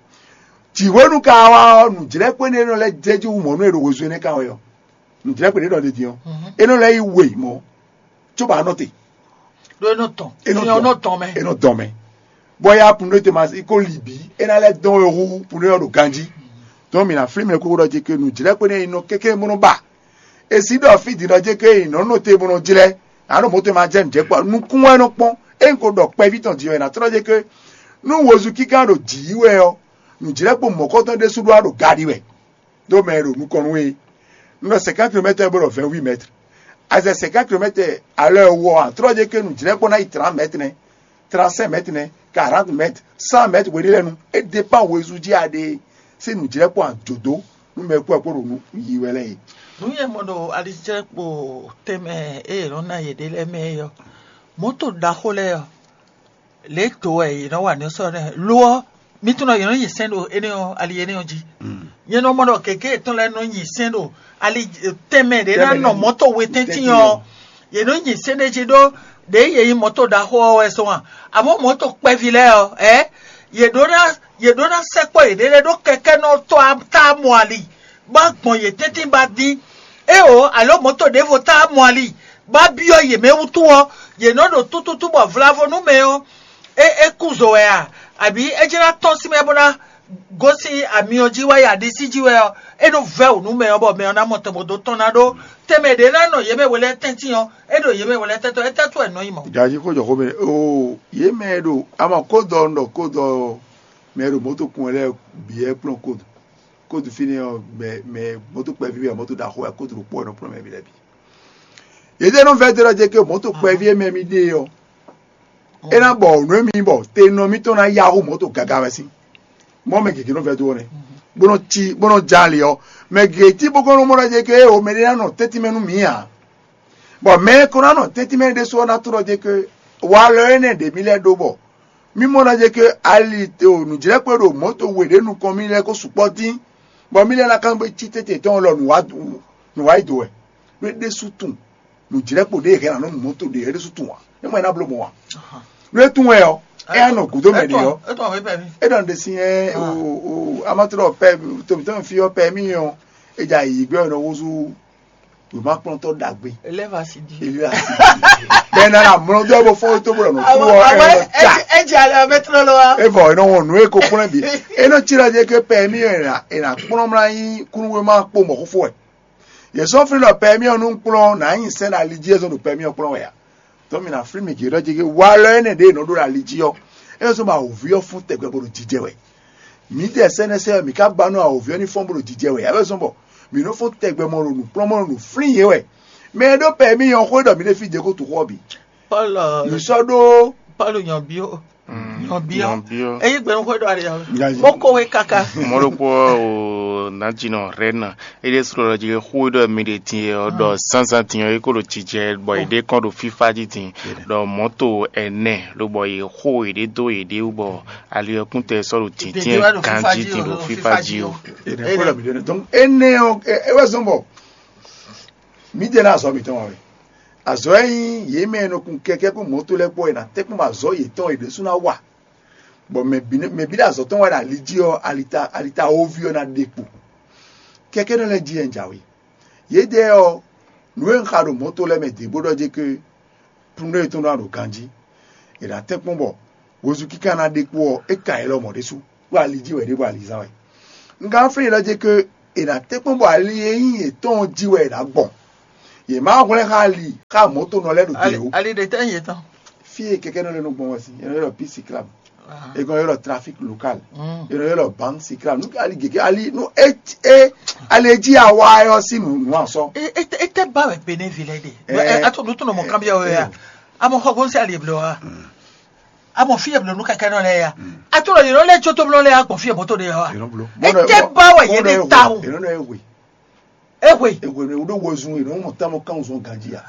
Jǐhwenu ka wá ɔ́, nǔjlɛ́kpɔ́ énɛ́ nɔ lɛ́ jɛ jí wú mɔ̌ nú è ɖo hwezú énɛ́ kan wɛ ɔ́. Nǔjlɛ́kpɔ́ ɖé nɔ ɖe din ɔ́, é nɔ lɛ́ yi we mɔ̌, cóbɔ a nɔ te. Ɖó é nɔ tɔn. É nɔ tɔn mɛ. É nɔ dɔn mɛ. Bɔ ya punu te ma ko li bǐ, é ná lɛ́ dɔn we hú punu ɔ́ ɖo ganjí. Dɔn mǐ ná flín mɛ kúkú ɖɔ jí ke nǔjlɛ́kpɔ́ énɛ́ nɔ kéké bó nɔ ba. È sí ɖɔ fí din ɔ́ jɛ ké nyi nɔ́ nɔ te bó nɔ jlɛ́, nǎ ɖo mɔ̌ tɔn ma jɛ nǔjɛ kpɔ́ nukún wɛ nɔ kpɔ́n. Ényí ko ɖɔ kpɛví tɔn din ɔ́, è nǎ tlɔ́ jɛ ké nú wozu kíká ɖo jǐ yí wɛ ɔ́, nǔjlɛ́kpo mɔ̌kɔtɔn ɖésú ɖó wá ɖo ga ɖi wɛ, ɖó mɛ e ɖo nukɔn nú é. Un ɖɔ cinquante kilomètres bó ɖɔ vingt-huit mètres. Azɛ cinquante kilomètres à l'heure wɔ ǎ, tlɔ́ jɛ ké nǔjlɛ́kpo ná yi trente mètres nɛ́, trente-cinq mètres nɛ́, quarante mètres, cent mètres hweɖé lɛ́ɛ nu. É dépend wozu jí a ɖe sín nǔjlɛ́kpo ajǒdó nú mɛ e kú wɛ kpó ɖo nǔ yi wɛ lɛ́ɛ é. Nǔ e mɔ ɖo alijlɛ́kpo tɛnmɛ e yě nɔ ná yěɖée lɛ́ɛ mɛ é ɔ́, mɔ̌to ɖaxó lɛ́ɛ ɔ́, lě e do wɛ yě nɔ wa nǔ sɔ́ nɛ́ lo ɔ́, mi tunwun ɖɔ yě nɔ nyi sɛ́n ɖo énɛ́ ɔ́ ali énɛ́ ɔ́ jí. Nyɛ nɔ mɔ ɖɔ gěgé yětɔn lɛ́ɛ nɔ nyi sɛ́n ɖo ali tɛnmɛ ɖě ná nɔ mɔ̌to we tɛ́ntin ɔ́, yě nɔ nyi sɛ́n ɖé jí ɖó ɖě yě nyí mɔ̌to ɖaxó ɔ́ wɛ zɔn a? Amɔ̌ mɔ̌to kpɛví lɛ́ɛ ɔ́, ɛ yě ɖó ná yě ɖó ná sɛkpɔ́ yěɖée lɛ́ɛ ɖó kɛkɛ́nɔ tɔ́ tá mɔ ali, bó gbɔn yě tɛ́ntin ba dín. Éeǒ, alǒ mɔ̌to ɖěvo tá mɔ ali, bó byɔ́ yě mɛ wútu ɔ́, yě nɔ ɖo tútútú bɔ vlavo nú mɛ ɔ́, é é kú zo wɛ a? Abǐ é jlá tɔ́n sín mɛ bó ná gosín amyɔ jí wɛ ya ɖisí jí wɛ ɔ́, é nɔ vɛ́ wǔ nú mɛ ɔ́, bɔ mɛ ɔ́ ná mɔ tɔn bó dó tɔ́n ná ɖó tɛnmɛ ɖě ná nɔ yě mɛ we lɛ́ɛ tɛ́ntin ɔ́, é ɖo yě mɛ we lɛ́ɛ tɛ́ntɔ́ é tɛ́ tó wɛ nɔ nyí mɔ̌. Gají xó jɔ xó mɛ o, yě mɛ e ɖo ama kó dɔ un ɖɔ kó dɔ mɛ e ɖo mɔ̌to kun wɛ lɛ́ɛ bǐ wɛ kplɔ́n kódu. Kódu fínɛ́ ɔ́, mɛ mɛ mɔ̌to kpɛví wɛ mɔ̌to ɖaxó wɛ kódu ɖokpó wɛ nɔ kplɔ́n mɛ bǐ lɛ́ɛ bǐ. Yědɛ́ nɔ vɛ́ dó ɖɔ jɛ ke mɔ̌to kpɛví e mɛ mi ɖe ɔ́, é ná bɔ nǔ e mi bɔ te nɔ mitɔn ná yá xó mɔ̌to gaga wɛ sín. Mɔ̌ mɛ gěgé nɔ vɛ́ dó ɔ́ nɛ́, bó nɔ cí bó nɔ já ali ɔ́, mɛ gěgé tí bó kɔn nɔ mɔ ɖɔ jɛ ke o mɛ ɖé ná nɔ tɛ́ntin mɛ nú mǐ ǎ. Bɔ mɛ e ko ná nɔ tɛ́ntin mɛ ɖésú ɔ́ ná tlɔ́ jɛ ke walɔ énɛ́ ɖě mì lɛ́ɛ ɖó bɔ mì mɔ ná jɛ ke ali o nǔjlɛ́kpɔ́ ɖo mɔ̌to we ɖě nukɔn mì lɛ́ɛ ko sukpɔ́ dín, bɔ mì lɛ́ɛ ná kán gbé cí tɛ́ntin tɔn lɔ nǔ wá yi do wɛ. Nú é ɖésú tunwun nǔjlɛ́kpo ɖě e hɛn anɔ mɔ̌to ɖě é ɖésú tunwun ǎ. É mɔ é ná bló mɔ̌ ǎ. Nú é tunwun wɛ ɔ́, é á nɔ gǔdo mɛ ɖě ɔ́. É ɖɔ ɖe sín ɛ o amatlɔ pɛ tomitɔn fi ɔ́ pɛ mì ɔ́, é dza yi gbɛ ɔ́ nɔ húzú wěmakplɔ́ntɔ́ ɖagbe. Eleva si di. Eleva si di. Bɛn na na mlɔ dɔ bɔ fɔ to bɔ nɔ tu wɔ ɛ nɔ ta. Ɛ jɛ alɛ ɔbɛ tlɔ lɔ wa. E vɔ e nɔ wɔn nu e ko kplɔn bi. E nɔ tsi la je ke pɛ mi e na e na kplɔn mla yi kunu wema kpo mɔ xofo ɛ. Yɛ sɔ fli nɔ pɛ mi ɔ nu kplɔn na yi sɛ na li ji ezɔn do pɛ mi ɔ kplɔn wɛ ya. Tɔ mi na fli mi gě ɖɔ je ke wa lɔ ene ɖe nɔ ɖo la li ji ɔ. E sɔ ma ovi ɔ fún tɛgbɛ bo ɖo jijɛ wɛ. Mǐdɛɛ sɛ́nɛsɛ́ ɔ́, mǐ ka ba nú awǒvi ɔ́ ní fɔ́n bó ɖo jijɛ wɛ ǎ, é wɛ zɔ́n bɔ mǐ nɔ fɔ́n tɛgbɛ mɔ ɖo nǔkplɔ́nmɔ ɖo nǔ flín yě wɛ. Mɛ e ɖó pɛ mì nyɔ́ xwé ɖɔ mǐ ɖe fí Jeko tu xó ɔ́ bǐ. Pɔ́lu Mǐ sɔ́ ɖó Pɔ́lu nyɔ̌byɔ́ nyɔ̌byɔ́ Nyɔ̌byɔ́. Ényí gbɛnúxwé ɖɔ ali ɔ́, Gazi. Bó kó we káká. Mɔ̌ ɖokpó ɔ́ o nǎjínɔ Rɛ́na é ɖésú ɖɔ jí xó e ɖɔ mi ɖe din é ɔ́ ɖɔ zánzán din ɔ́ é kó ɖo jijɛ bɔ è ɖe kɔn ɖo fífá jí din ɖɔ mɔ̌to ɛnɛ lobɔ yě xo yěɖée dó yěɖée wú bɔ ali ɔ́ kún tɛ sɔ́ ɖo dǐndín ganjí din ɖo fífá jí ó. Énɛ́ xó ɖɔ mi ɖe nɛ. Donc énɛ́ ɔ́ é wɛ zɔ́n bɔ mǐ jɛ ná azɔ̌ mǐtɔn wɛ. Azɔ̌ e nyí yě mɛ e nɔ kun kɛkɛ́ kpó mɔ̌to lɛ́ɛ kpó e ná tɛ́nkpɔ́n bɔ azɔ̌ yětɔn e ɖésú ná wa. Bɔ mɛ bǐ ɖo azɔ̌ tɔn wɛ ɖo ali jí ɔ́, alita alita woví ɔ́ ná ɖe kpo. Kɛkɛ́nɔ lɛ́ɛ jí wɛ un jǎwe. Yědɛɛ ɔ́, nǔ e un xa ɖo mɔ̌to lɛ́ɛ mɛ dě bó ɖɔ jé ké plúndó yětɔn ɖó aɖo ganjí. È nǎ tɛ́nkpɔ́n bɔ wezun kíká ná ɖe kpó ɔ́, é ka yě lɔmɔ̌ ɖésú, ɖó ali jí wɛ ɖěbǔ alizán wɛ. Un ka flín yě ɖɔ jé ké è nǎ tɛ́nkpɔ́n bɔ ali e nyí yětɔn ɔ́ jí wɛ è nǎ gbɔn. Yě má hwlɛ́n xá ali xá mɔ̌tonɔ lɛ́ɛ ɖo te ó. Ali ɖe tɛ́ nyí yětɔn. Fí e kɛkɛ́nɔ lɛ́ɛ nɔ gbɔn wɛ sín, è nɔ ylɔ́ pí siklam, è nɔ ylɔ́ trafik lokal, è nɔ ylɔ́ bank siklam. Nú ali gěgé ali nú é é ali e jí awa ɛ ɔ́ sín nǔ nǔ asɔ. Ete ba wɛ Benin ville ɖe. Ato nu tɔnɔ mɔ kanbiya wɛ ya. Amɔ xɔ gɔnsi ali eblo wa. Amɔ fi eblo nu kɛkɛ nɔ lɛ ya. Ato lɔ yɛrɛ lɛ tso to blɔ lɛ ya gbɔn fi eblo to de ya wa. Ete ba wɛ yɛ de ta o. Eno nɔ ewe. Ewe. Ewe ne wo ɖo wɔ zun eno mɔ tamɔ kan zɔn ganji ya.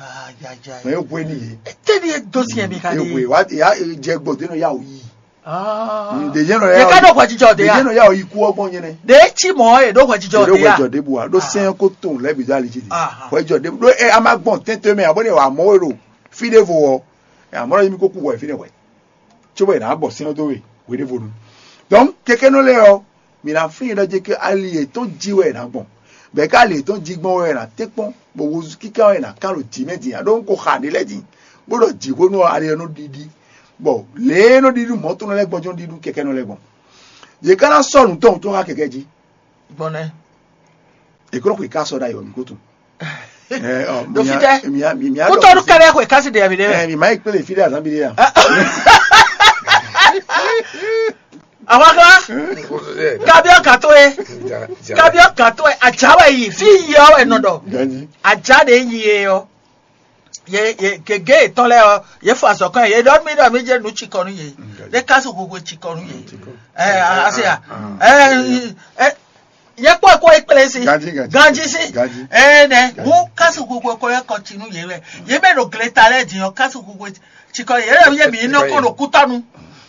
Mɛ ewe ni ye. Ete ni e do si yɛ mi ka de. Ewe wa ya jɛ gbɔ de nɔ ya o yi. Ɖe yɛn nɔ ya ɖeka ɖo hwɛjijɔ de ya. Ɖe yɛn nɔ ya o yi ku ɔgbɔn nyɛ nɛ. Ɖe tsi mɔ ye ɖo hwɛjijɔ de ya. Ɖo hwɛjijɔ de bu wa ɖo sɛn ko to lɛ bi do ali ji di. Hwɛjijɔ de ɖo e a ma gbɔn tɛntɛn mɛ abo ne wa mɔ e ɖo. fí ɖěvo ɔ́, amɔ̌ ɔ́, mi ko kú hwɛ fínɛ́ hwɛ, cóbɔ è nǎ gbɔ sɛ́n ɔ́ dó we hweɖévonu. Donc kɛkɛ́nɔ lɛ́ɛ ɔ́, mǐ ná flín yě ɖɔ jɛ ke ali yětɔn jí wɛ è nǎ gbɔn, bɔ è ká ali yětɔn jí gbɔn wɛ è nǎ tɛ́nkpɔ́n, bɔ wozu kíká wɛ è nǎ kán ɖo jǐ mɛ din ǎ, ɖó un ko xa nǔ lɛ́ɛ din, bó ɖɔ jǐ hwenu ɔ́ ali ɔ́ nɔ ɖiɖi, bɔ lě e nɔ ɖiɖi mɔ̌ tɔn lɛ́ɛ gbɔn jɔ́n ɖiɖi kɛkɛ́nɔ lɛ́ɛ gbɔn. Yě ká ná sɔ́ nǔ tɔn wútu xá kɛkɛ́ jí. Gbɔn nɛ́. È ko nɔ xwe ká sɔ ɖ'ayǐ ɔ, mǐ ko tunwun. Ɛ, ɔ, Ɖo mǐ fítɛ́? Mǐ mǐ mǐ Kútɔ́nú kɛ́ lɛ́ xwe ká sí ɖe mǐ ɖé mɛ. Ɛ, mǐ má yi kplé fí ɖé azán bí ɖé a? Àwọn kan, kabiọ́ kan tó ye, kabiọ́ kan tó ye, àjà wɛ yìí, fí yìí ɔ́ wɛ nɔ ɖɔ. Ganji. Àjà ɖe yìí ye ɔ́, ye ye gègé yětɔn lɛ́ɛ ɔ́, ye fɔ azɔ̌ kɔn yě ɖɔ mí ɖɔ mí jẹ́ nǔ cikɔ nú yě, ɖé ká sɔ́ hwehwe cikɔ nú yě. Ɛ, asi ya. Ɛ, ɛ, yɛ kpɔ kɔ ekplesi. Ganji, ganji. Ganji si. Ganji. Ɛ nɛ, mu kasu koko kɔ yɛ kɔ tinu yɛ wɛ. Yɛ mɛ ɖo gleta lɛ din ɔ, kasu koko tsikɔ yɛ yɛ mi nɔ kɔ ɖo kutɔnu.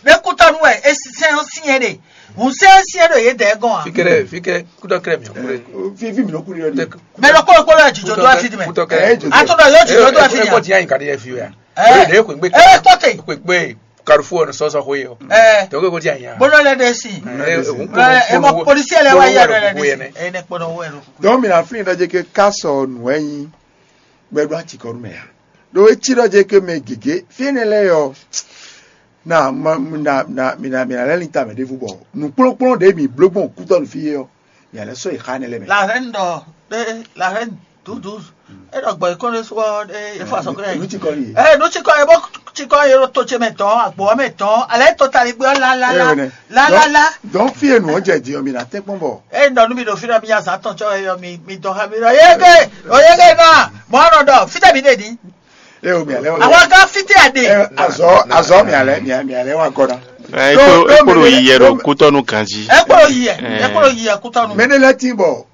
Ɖe kutɔnu wɛ e sɛn o sinyɛ ɖe. Mu sɛn sinyɛ ɖo yɛ dɛ gɔn a. Fikɛ, fikɛ, kutɔ kɛrɛ mi. Fi fi mi nɔ kuli yɔ ni. Mɛ ɖo kɔ kɔ lɛ jijɔ do asi di mɛ. Kutɔ kɛrɛ. Ato dɔ yɔ jijɔ do asi di. Ɛ kɔ ti ayi ka di yɛ fi wɛ. Ɛ, ɖe xwe gbe. Ɛ kɔte. Xwe gbe. Carrefour ɔ́ sɔsɔ xwe ɔ. Ɛ. Tɔgɔ ko ti anya. Bolo lɛ de si. Ɛ, ɛ, ɛ, ɛ, mɔ policier lɛ wa ya lɛ de si. Ɛ, ne kpɔnɔ wɛ lo. Donc mi na flin ɖɔ jɛ ke ká sɔ nǔ wɛ nyi gbɛɖo atsikɔnu mɛ ya. Ɖo etsi ɖɔ jɛ ke mɛ gěgé fi énɛ́ lɛ́ɛ ɔ́, na ma na na mi na mi na lɛ́ lin tamɛ ɖěvo bɔ nǔkplɔ́nkplɔ́n ɖě mi bló gbɔn kútɔ́ nǔ fí é ɔ́, mi a lɛ́ sɔ́ yi xá énɛ́ lɛ́ɛ mɛ. La reine dɔ ɖe la reine douze douze. E ɖɔ gbɔ ikɔn ɖe sɔ ɖe efo asɔkɛ. Nú tsikɔ yi. Ɛ nú tsikɔ yi bó tsikɔ yi ɖo to ce mɛ tɔn agbo mɛ tɔn alɛ to tali gbé la la la la la la. Donc fi enu ɔjɛ di ɔ mi na tɛ kpɔn bɔ. E nɔ nu mi ɖo fi ɖɔ mi azan tɔn tsɔ yɔ mi mi dɔn xa mi ɖɔ yege o yege na mɔ nɔ ɖɔ fitɛ mi ɖe di. E o mi alɛ wa. Awa gã fitɛ a ɖe. Azɔ azɔ mi alɛ mi mi alɛ wa gɔna. Ekpolo yi yɛ ɖo kutɔnu ganji. Ekpolo yi yɛ ekpolo yi yɛ kutɔnu. Mɛ ne lɛ ti bɔ.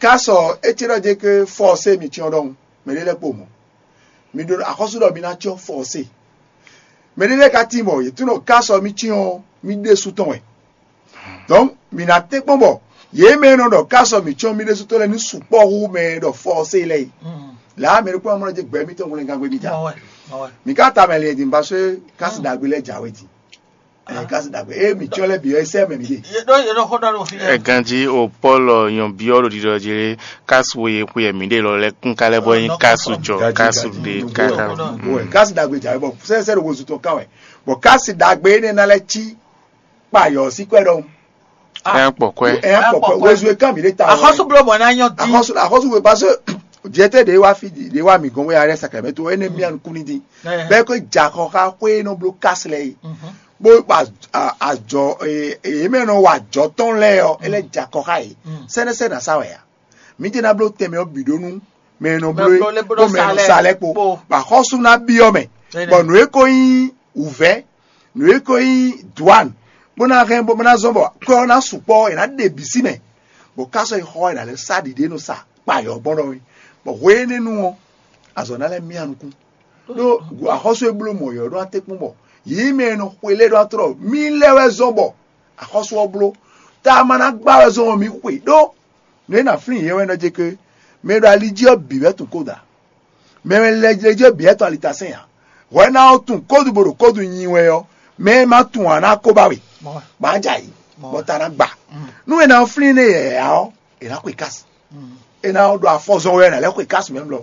Kásɔ é ce ɖɔ jɛ ke fɔsé mi cyɔ́n ɖɔhun, mɛ ɖé lɛ́ɛ kpo mɔ̌. Mi ɖó axɔ́sú ɖɔ mi ná cyɔ́n fɔsé. Mɛ ɖé lɛ́ɛ ka tín bɔ yě tunɔ kásɔ mi cyɔ́n mi ɖésú tɔn wɛ. Donc mi ná tɛ́nkpɔ́n bɔ yě mɛ e nɔ ɖɔ kásɔ mi cyɔ́n mi ɖésú tɔn lɛ́ɛ ní sukpɔ́ hú mɛ e ɖɔ fɔsé lɛ́ɛ yi. Lǎ mɛ ɖokpó amɔ́ jɛ gbɛ mitɔn hwlɛngán gbé mi ta. Mi ka ta mɛ lɛ din ba sɔ́ kásì ɖagbe lɛ́ɛ jǎwe din. Ɛ kasi dagbe e mi tsɔ lɛ bi ɔ esɛ mɛ mi de. Ye ɖo ye ɖo xó ɖɔ ɖo fi yɛ. Ganji o Paul nyɔbiɔ ɖo ɖiɖɔ jɛ kasu ye xwe mi de lɔ lɛ kun ka lɛ bɔ yin kasu jɔ kasu de kaka. Kasi dagbe dza bɔ sɛsɛ ɖo wozu tɔn kan wɛ bɔn kasi dagbe ene na lɛ tsi kpa yɔ si kwɛ ɖɔhun. Ɛ kpɔ kwɛ. Ɛ kpɔ kwɛ wozu e kan mi de ta. Axɔsu blo bɔ na nyɔ di. Axɔsu axɔsu we parce que jete de wa fi de wa mi gɔn we arɛ sacrament o ene mi an kuni di. Bɛ ko dza kɔ xa xwe nɔ blo kasi lɛ yi. Bó ba azɔ èyí mɛ nɔ wa azɔ tɔn lɛ ɔ ele dza kɔ xa yi sɛnɛsɛ na sa wɛ ya mi te na blo tɛmɛ ɔ bi ɖo nu mɛ nɔ blo bó mɛ nɔ sa lɛ kpo ba xɔsu na bi ɔ mɛ bɔn nǔ e ko nyi wǔvɛ nǔ e ko nyi duan bó na hɛn bó na zɔn bɔ kɔ na sukpɔ ɛ na ɖe bi si mɛ bɔ kásɔ yi xɔ ɛ na lɛ sa ɖiɖe nɔ sa kpa yɔ gbɔn ɖɔ bɔ hwe énɛ́ nu ɔ azɔ na lɛ mia nukún ɖó axɔ́sú e bló mɔ̌ ɔ́ ɖó atékpɔ́n bɔ yě mɛ e nɔ xwe lɛ́ɛ ɖó atlɔ́ mì lɛ́ wɛ zɔ́n bɔ axɔ́sú ɔ́ bló. Tá a ma ná gbá wɛ zɔ́n ɔ́, mì xwe ɖó nǔ e nǎ flín yě wɛ nɔ jɛ ké mɛ e ɖo ali jí ɔ́ bǐ wɛ tunwun kódà. Mɛ e lɛ jɛ jí ɔ́ bǐ wɛ tɔn alitasɛn ǎ. Hwɛ ná ɔ́ tunwun kódu bó ɖo kódu nyi wɛ ɔ́, mɛ e ma tunwun ǎ ná kó ba we, bɔ á jɛ ayǐ, bɔ ta ná gba. Nú è nǎ flín nú yɛ̌yá ɔ́, è nǎ xwe kási. È nǎ ɖo afɔ zɔn wɛ è nǎ lɛ́ xwe kási mɛ mlɔ.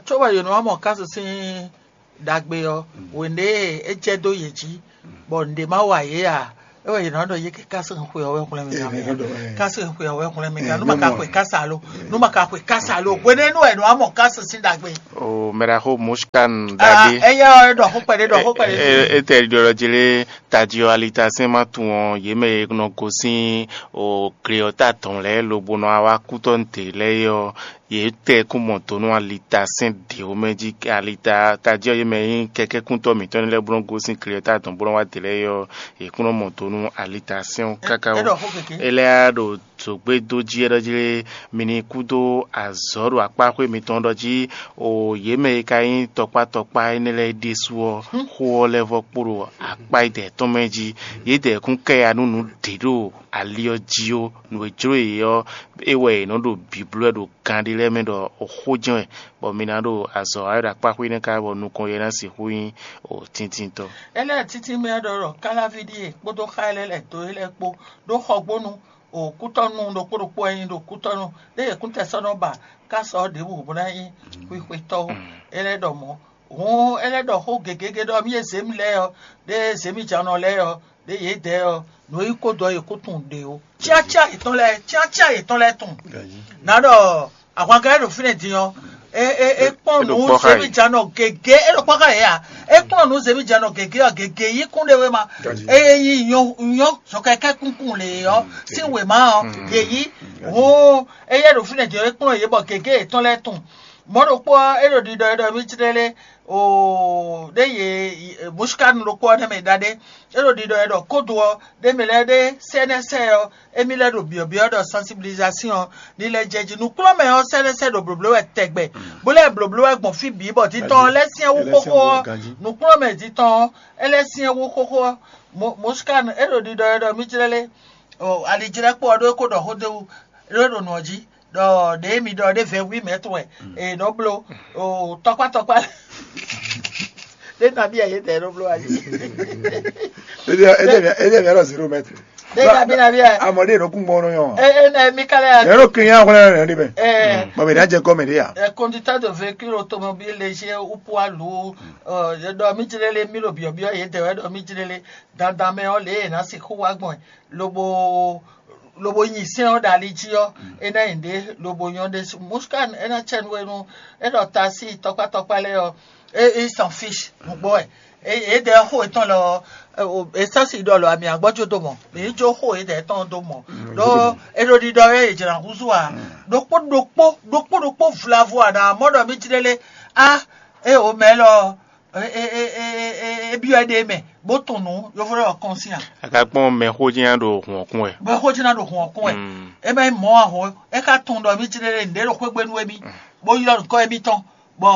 Tso wɛ yǒnú wá mɔ kási sín ɖagbe ɔ́, wěnde e é jɛ dó yě jí, bɔ nǔɖé má wa yě ǎ. É wɛ yě nɔ ɖɔ yě kɛ kási xwe ɔ́ wɛ hwlɛ́n mì gán mɛ. Kási xwe ɔ́ wɛ hwlɛ́n mì gán. Nú ma ka xwe kási alo, nú ma ka xwe kási alo, hwenɛ́nu wɛ nǔ wá mɔ kási sín ɖagbe. O mɛɖaxó Mushkan ɖagbe. Ɛyɛ ɔ́ ɖɔ xó kpɛɖé ɖɔ xó kpɛɖé. Etɛ ɖiɖɔ jí lé tají ɔ́ alitasɛn má tunwun ɔ́, yě mɛ e nɔ gosín o gle ɔ́ ta tɔn lɛ́ɛ lobo nɔ wá kútɔ́ nǔ lɛ́ɛ é ɔ́, yě tɛ kún mɔ do nú alitasɛn ɖě mɛ jí alita tají ɔ́ yě mɛ nyí kɛkɛ́kúntɔ́ mǐtɔn lɛ́ɛ bó nɔ́ gosín gle ɔ́ ta tɔn bó nɔ́ wá dě lɛ́ɛ é ɔ́, yě kún nɔ mɔ do nú alitasɛn ɔ́ káká ó. É lɛ́ ɖo zǒgbédó jí é ɖɔ jí lé, mi ní kúdó azɔ̌ ɖo akpáxwé mitɔn ɖɔ jí o yě mɛ e ka nyí tɔkpá tɔkpá énɛ́ lɛ́ɛ ɖésú ɔ́, xó ɔ́ lɛ́ vɔ́ kpo ɖo akpá yědɛɛ tɔn mɛ jí. Yědɛɛ kún kɛ ya nú nǔ ɖě ɖo ali ɔ́ jí ó. Nǔ e jló yě ɔ́, é wɛ yě nɔ ɖo bǐbló wɛ ɖo gan ɖé lɛ́ɛ mɛ ɖɔ xó jɛ́n wɛ, bɔ mi ná ɖo azɔ̌ wa wɛ ɖo akpáxwé énɛ́ ká bɔ nukɔn yɛ ná sixú nyí o tíntintɔ́. Énɛ́ títí mɛ ɖɔ ɖɔ káláví ɖíe kpódó xá énɛ́ lɛ́ɛ dó é lɛ́ɛ kpó ɖó xɔgbónu o kútɔ́nu ɖokpó ɖokpó e nyí ɖo kútɔ́nu ɖé yě kún tɛ sɔ́ nɔ ba ká sɔ ɖěbǔ bó ná nyí xwixwetɔ́ ó. É lɛ́ ɖɔ mɔ̌. Hǔn é lɛ́ ɖɔ xó gěgé ɖɔ mì e zě mì lɛ́ɛ ɔ́, ɖé zě mì jǎnɔ lɛ́ɛ ɔ́, ɖé yědɛɛ ɔ́, nǔ e nyí kó dɔ yě kó tunwun ɖě ó. Cyácyá yětɔn lɛ́ɛ, cyácyá yětɔn lɛ́ɛ tunwun. Ná ɖɔ ahwankɛ́ ɖo fínɛ́ din ɔ́, é é é kpɔ́n É ɖo nǔ kpɔ́ xá zěmí yě. Jǎnɔ gěgé, é ɖo kpɔ́ xá yě a? É kpɔ́n nǔ zěmí jǎnɔ gěgé ɔ́, gěgé yí kún ɖé wé ma. Ényí nyɔ́ nyɔ́ zɔkɛkɛ́ kúnkún lě ɔ́, sín wěma ɔ́, yě yí. Hǔn éyɛ́ ɖo fínɛ́ din ɔ́, é kplɔ́n yě bɔ gěgé yětɔn lɛ́ɛ tunwun. Mɔ̌ ɖokpó ɔ́, é ɖo ɖiɖɔ é ɖɔ mí jlɛ́ lé o ɖé yě mɔ̌síkánu ɖokpó ɔ́ nɛ́ mɛ ɖaɖé. É ɖo ɖiɖɔ é ɖɔ kódo ɔ́, ɖé mɛ lɛ́ɛ ɖé sɛ́nɛ́sɛ ɔ́, émí lɛ́ɛ ɖo byɔ̌byɔ́ ɖɔ sensibilisation ɔ́, ní lɛ́ jɛ jí. Nǔkplɔ́nmɛ ɔ́ sɛ́nɛ́sɛ ɖo blǒbló wɛ tɛgbɛ, bó lɛ́ blǒbló wɛ gbɔn fí bǐ bɔ dítɔn ɔ́ lɛ́ syɛ́n wú xóxó ɔ́, nǔkplɔ́nmɛ dítɔn ɔ́, é lɛ́ syɛ́n wú xóxó ɔ́. Mɔ̌síkánu é ɖo ɖiɖɔ é ɖɔ mí jlɛ́ lé o alijlɛ́kpó ɔ́ ɖó é kó ɖɔ xó dó wú ɖó ɖo nǔ ɔ́ jí ɖɔ ɖě mi ɖɔ ɖé vɛ̌ wí mɛ̌ tɔn wɛ è nɔ bló o tɔkpá tɔkpá ɖé nabí ɛ yě dɛ nɔ bló ali Ele é deve era zero metro. Ɖé nabí nabí ɛ Amɔ ɖé nɔ kún gbɔn nɔ yɔn. Ɛ ɛ nɛ mi ka lɛ Yɛn nɔ kiri yan kɔnɔ yɛn ɖe bɛ. Ɛ Mɔ mi ɖa jɛ kɔmɛ ɖe ya. Ɛ conducteur de véhicule automobile léger ou poids lourd ɛ ɖɔ mi jlele mi ɖo biɔbiɔ yě dɛ wɛ ɖɔ mi jlele dandan mɛ ɔ lě yě ná sixú wá gbɔn lobo lobo nyi sɛn ɔ ɖo ali jí ɔ é ná nyi ɖě lobo nyɔ ɖésú muskan é ná tsɛ nú é nú é ɖɔ tasi tɔkpá tɔkpá lɛ ɔ é é s'en fiche nǔgbó wɛ é é ɖɛ xó étɔn lɔ ɔ é sasi ɖɔ lɔ ami agbɔjo do mɔ mi yi jo xó é ɖɛ tɔn do mɔ ɖó é ɖo ɖiɖɔ é jɛ na húzú a ɖokpó ɖokpó ɖokpó ɖokpó vlavo a na mɔ ɖɔ mi jí ɖe lé a é o mɛ lɔ é é é é é é byɔ́ é ɖe mɛ bó tunwun nǔ yovo ɖé wɔ kɔn sín a. A ka kpɔ́n mɛ xó jɛ́n ɖo hǔn ɔ́ kún wɛ. Mɛ xó jɛ́n ɖo hǔn ɔ́ kún wɛ. Mm. É mɛ mɔ ahɔn é ka tunwun ɖɔ mí jlé lé nǔɖé ɖo xwégbé nú émí bó ylɔ́ nǔkɔ émítɔn bɔ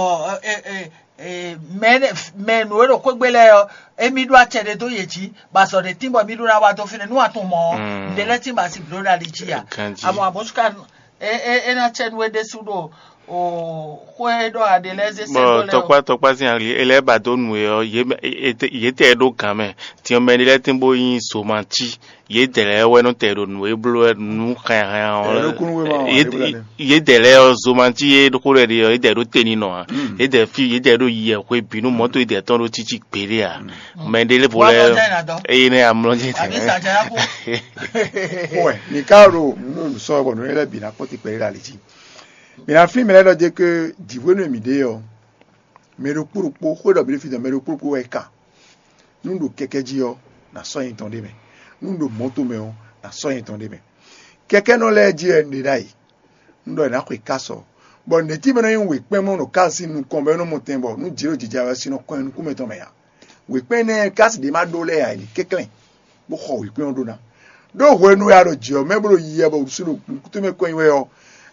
ɛ ɛ ɛ mɛ mɛ nǔ e ɖo xwégbé lɛ́ɛ ɔ́ émí ɖó acɛ ɖé dó yě jí bɔ azɔ̌ ɖé tín bɔ mí ɖó ná wá dó fínɛ́ nú a tunwun mɔ̌ ɔ́ nǔɖé lɛ́ɛ tín bɔ a si blǒ ɖo ali jí a. Ganjí. Amɔ àmɔ̌ é é é ná cɛ nú é ɖésú ɖo o xwé ɖɔ aɖe lɛ́ɛ zé sɛ́ bɔ dó lɛ́ɛ o. Tɔkpá tɔkpá sín ali e lɛ́ɛ ba dó nǔ e ɔ́ yě mɛ- e- e- yě tɛ ɖó gǎn mɛ tiɔmɛ ɖé lɛ́ɛ tín bó nyí zomati yě dɛ lɛ́ɛ wɛ nɔ tɛ ɖo nǔ e bló wɛ nǔ hɛnhɛn ɔ́ Ɛ, ló kún wé ma wà yé- lé blá yé- yé dɛ lɛ́ɛ ɔ́ zomati yé xó lɛ ɖe ɔ́ yé dɛ ɖó te ní nɔ ǎ yé dɛ fí yé dɛ ɖó yɛ hwe bǐ nú mɔto yé dɛ tɔn ɖó títí gbě ɖé ǎ mɛ ɖé lɛ́ɛ vo Wá lɛ kọjá ìrìnàjò. Eye nɛ amlɔ jɛ Àbí sàjẹ́ yá kú. Wɛ, mi ka ɖo nǔ sɔ bɔ nǔ lɛ bǐ ná kpɔ́n ti kpɛɖé ɖo ali jí. Mi ná flín mɛ lɛ́ɛ ɖɔ jɛ ké jǐhwénu e mǐ ɖe ɔ́, mɛ ɖokpó ɖokpó xwé ɖɔ mǐ ɖo fí dɔn mɛ ɖokpó ɖokpó wɛ ka. Nú ɖo kɛkɛ́ jí ɔ́, nǎ sɔ́ nyɛ tɔn ɖ'é mɛ. Nú ɖo mɔ̌to mɛ ɔ́, nǎ sɔ́ nyɛ tɔn ɖ'é mɛ. Kɛkɛ́nɔ lɛ́ɛ jí wɛ un ɖe ɖ'ayǐ. Un ɖɔ è nǎ xwe ká sɔ. Bɔ nɛ̌ tí mɛ nɔ nyí wěkpɛ́n mɔ ɖo ká sín nukɔn bɔ é nɔ mɔ tɛn bɔ nú jǐ ɖo jijɛ wɛ sin nɔ kɔn nyi nukún mɛtɔn mɛ ǎ. Wěkpɛ́n énɛ́ kási ɖě ma ɖó lɛ́ɛ ǎ, è nǐ kɛnklɛ́n, bó xɔ wěkpɛ́n ɔ́ ɖó ná. Ɖó hwenu e a ɖo jǐ ɔ́ mɛ bó ɖo yiyi wɛ bɔ wǔsú ɖo nukúnmɛ kɔn nyi wɛ ɔ́,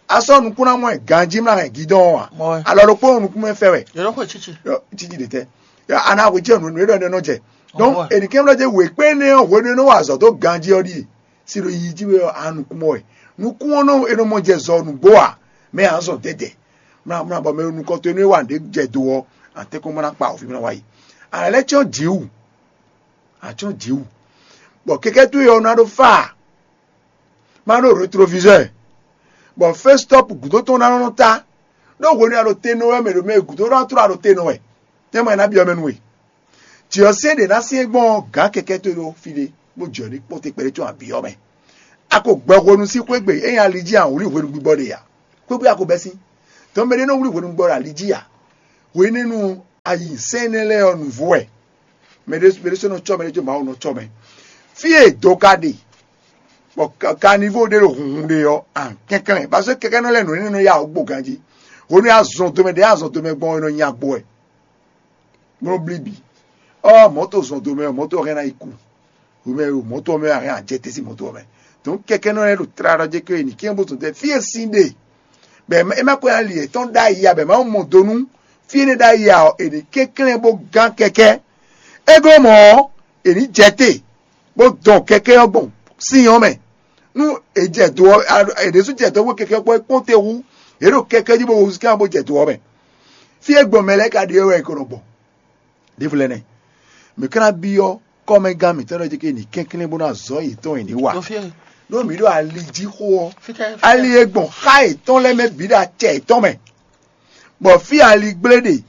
a sɔ́ nukún ná mɔ ɛ ganjí mlá hɛn gǐdɔn ɔ́ ǎ. Mɔ ɛ. Alɔ ɖokpó nɔ nukúnmɛ fɛ wɛ. Yɔrɔ xwe tsitsi. Yɔ, tsitsi ɖe tɛ. Yɔ, a nɔ axwe jɛ nǔ e ɖɔ ɖɔ nɔ jɛ. Donc, Ɔwɔ. È nǐ kɛn ɖɔ jɛ wěkpɛ́n énɛ́ ɔ́ hwenu e nɔ wa azɔ̌ dó ganjí ɔ́ ɖíe. Si ɖo yiyi jí wɛ ɔ́, a nukún mɔ wɛ. Nukún ɔ́ nɔ e nɔ mɔ jɛ zɔ nǔgbó ǎ. Mɛ a zɔn dɛdɛ. Mlá mlá bɔ mɛ nukɔn towe nú é wa nǔɖé jɛ do ɔ́, a tɛ́nkpɔ́n bó ná kpa wǔvínɔ wá yi. A nǎ lɛ́ cyɔ́n jǐ wǔ. A cyɔ́n jǐ wǔ. Bɔ kɛkɛ́ towe ɔ́ ná ɖó fá ǎ. Má ɖó rétroviseur. Bɔ fɛ́sitɔ́pu gǔdo tɔn ná nɔ ta. Ɖó hwenu e a ɖo te nɔ wɛ mɛ ɖo mɛ e gǔdo ná tló a ɖo te nɔ wɛ. Tɛ́nmɛ ná byɔ́ mɛ nú we. Jǐ ɔ́ sɛ́n ɖě ná syɛ́n gbɔn ɔ́, gǎn kɛkɛ́ towe ɖó fí ɖé, bó jɛ ní kpɔ́n te kpɛɖé có abǐ ɔ́ mɛ. A ko gbɛ hwenu sín xwé gbe, é nyí ali jí a wlí hwenu gbígbɔ ɖe ǎ. Xwé gbe a ko bɛ́ sín. Tɔn mɛ ɖé nɔ wlí hwenu gbígbɔ ɖo ali jí ǎ. Hwenɛ́nu ayi sɛ́n énɛ́ lɛ́ɛ ɔ́, nǔvú wɛ. Mɛ ɖé mɛ ɖé sɔ́ nɔ cɔ́ mɛ, ɖé sɔ́ Mawu nɔ cɔ́ mɛ. Fí e do ka ɖe, bɔ ka- kanivo ɖé ɖo hunhun ɖe ɔ́, an kɛnklɛn. Parce que kɛkɛ́nɔ lɛ́ɛ nǔ énɛ́ nɔ ya wǔ gbo ganjí. Hwenu e azɔn domɛ ɖé azɔn domɛ gbɔn ɔ́, é nɔ nya gbo wɛ. Bó nɔ blí bǐ. Ɔ́, mɔ̌to zɔn domɛ ɔ́, mɔ̌to ɔ́ hɛn ná yi ku. Hwemɛ e ɖo mɔ̌to ɔ́ mɛ ɔ́, a hɛn ajɛtɛ́ sín mɔ̌to ɔ́ mɛ. Dɔn kɛkɛnɔ lɛ́ɛ ɖo tlala ɖɔ jɛ ke è nǐ kɛn bó zɔn tɛ fí e sin ɖe, bɔ è ma ko ali yětɔn ɖ'ayǐ ǎ, bɔ è ma mɔ do nú fí énɛ́ ɖ'ayǐ ǎ ɔ́, è nǐ kɛnklɛ́n bó gán kɛkɛ́. É glɔ́ mɔ̌ ɔ́, è nǐ jɛ te bó dɔn kɛkɛ́ ɔ́ gbɔn sín ɔ́ mɛ. Nú è jɛ do ɔ́, è ɖésú jɛ dɔ̌n bó kɛkɛ́ ɔ́ kpɔ́n é kpɔ́n te hú, yě ɖo kɛkɛ́ jí bó húzú kɛ́n bó jɛ do ɔ́ mɛ. Fí e gbɔn mɛ lɛ́ɛ ka ɖe ɔ́ wɛ è ko nɔ gbɔn. Ɖěvo lɛ́ɛ nɛ́. Mǐ ka ná byɔ́ kɔ́mɛgán mǐtɔn lɛ́ɛ jí ké ní kɛnklɛ́n bó ná zɔ̌ yětɔn e ní wa. Ɖo fí e Ɖó mǐ ɖo ali jí xó ɔ́, fítɛ́ ali e gbɔn xá yětɔn lɛ́ɛ mɛ bǐ ɖo acɛ yětɔn mɛ, bɔ fí ali gblé ɖe,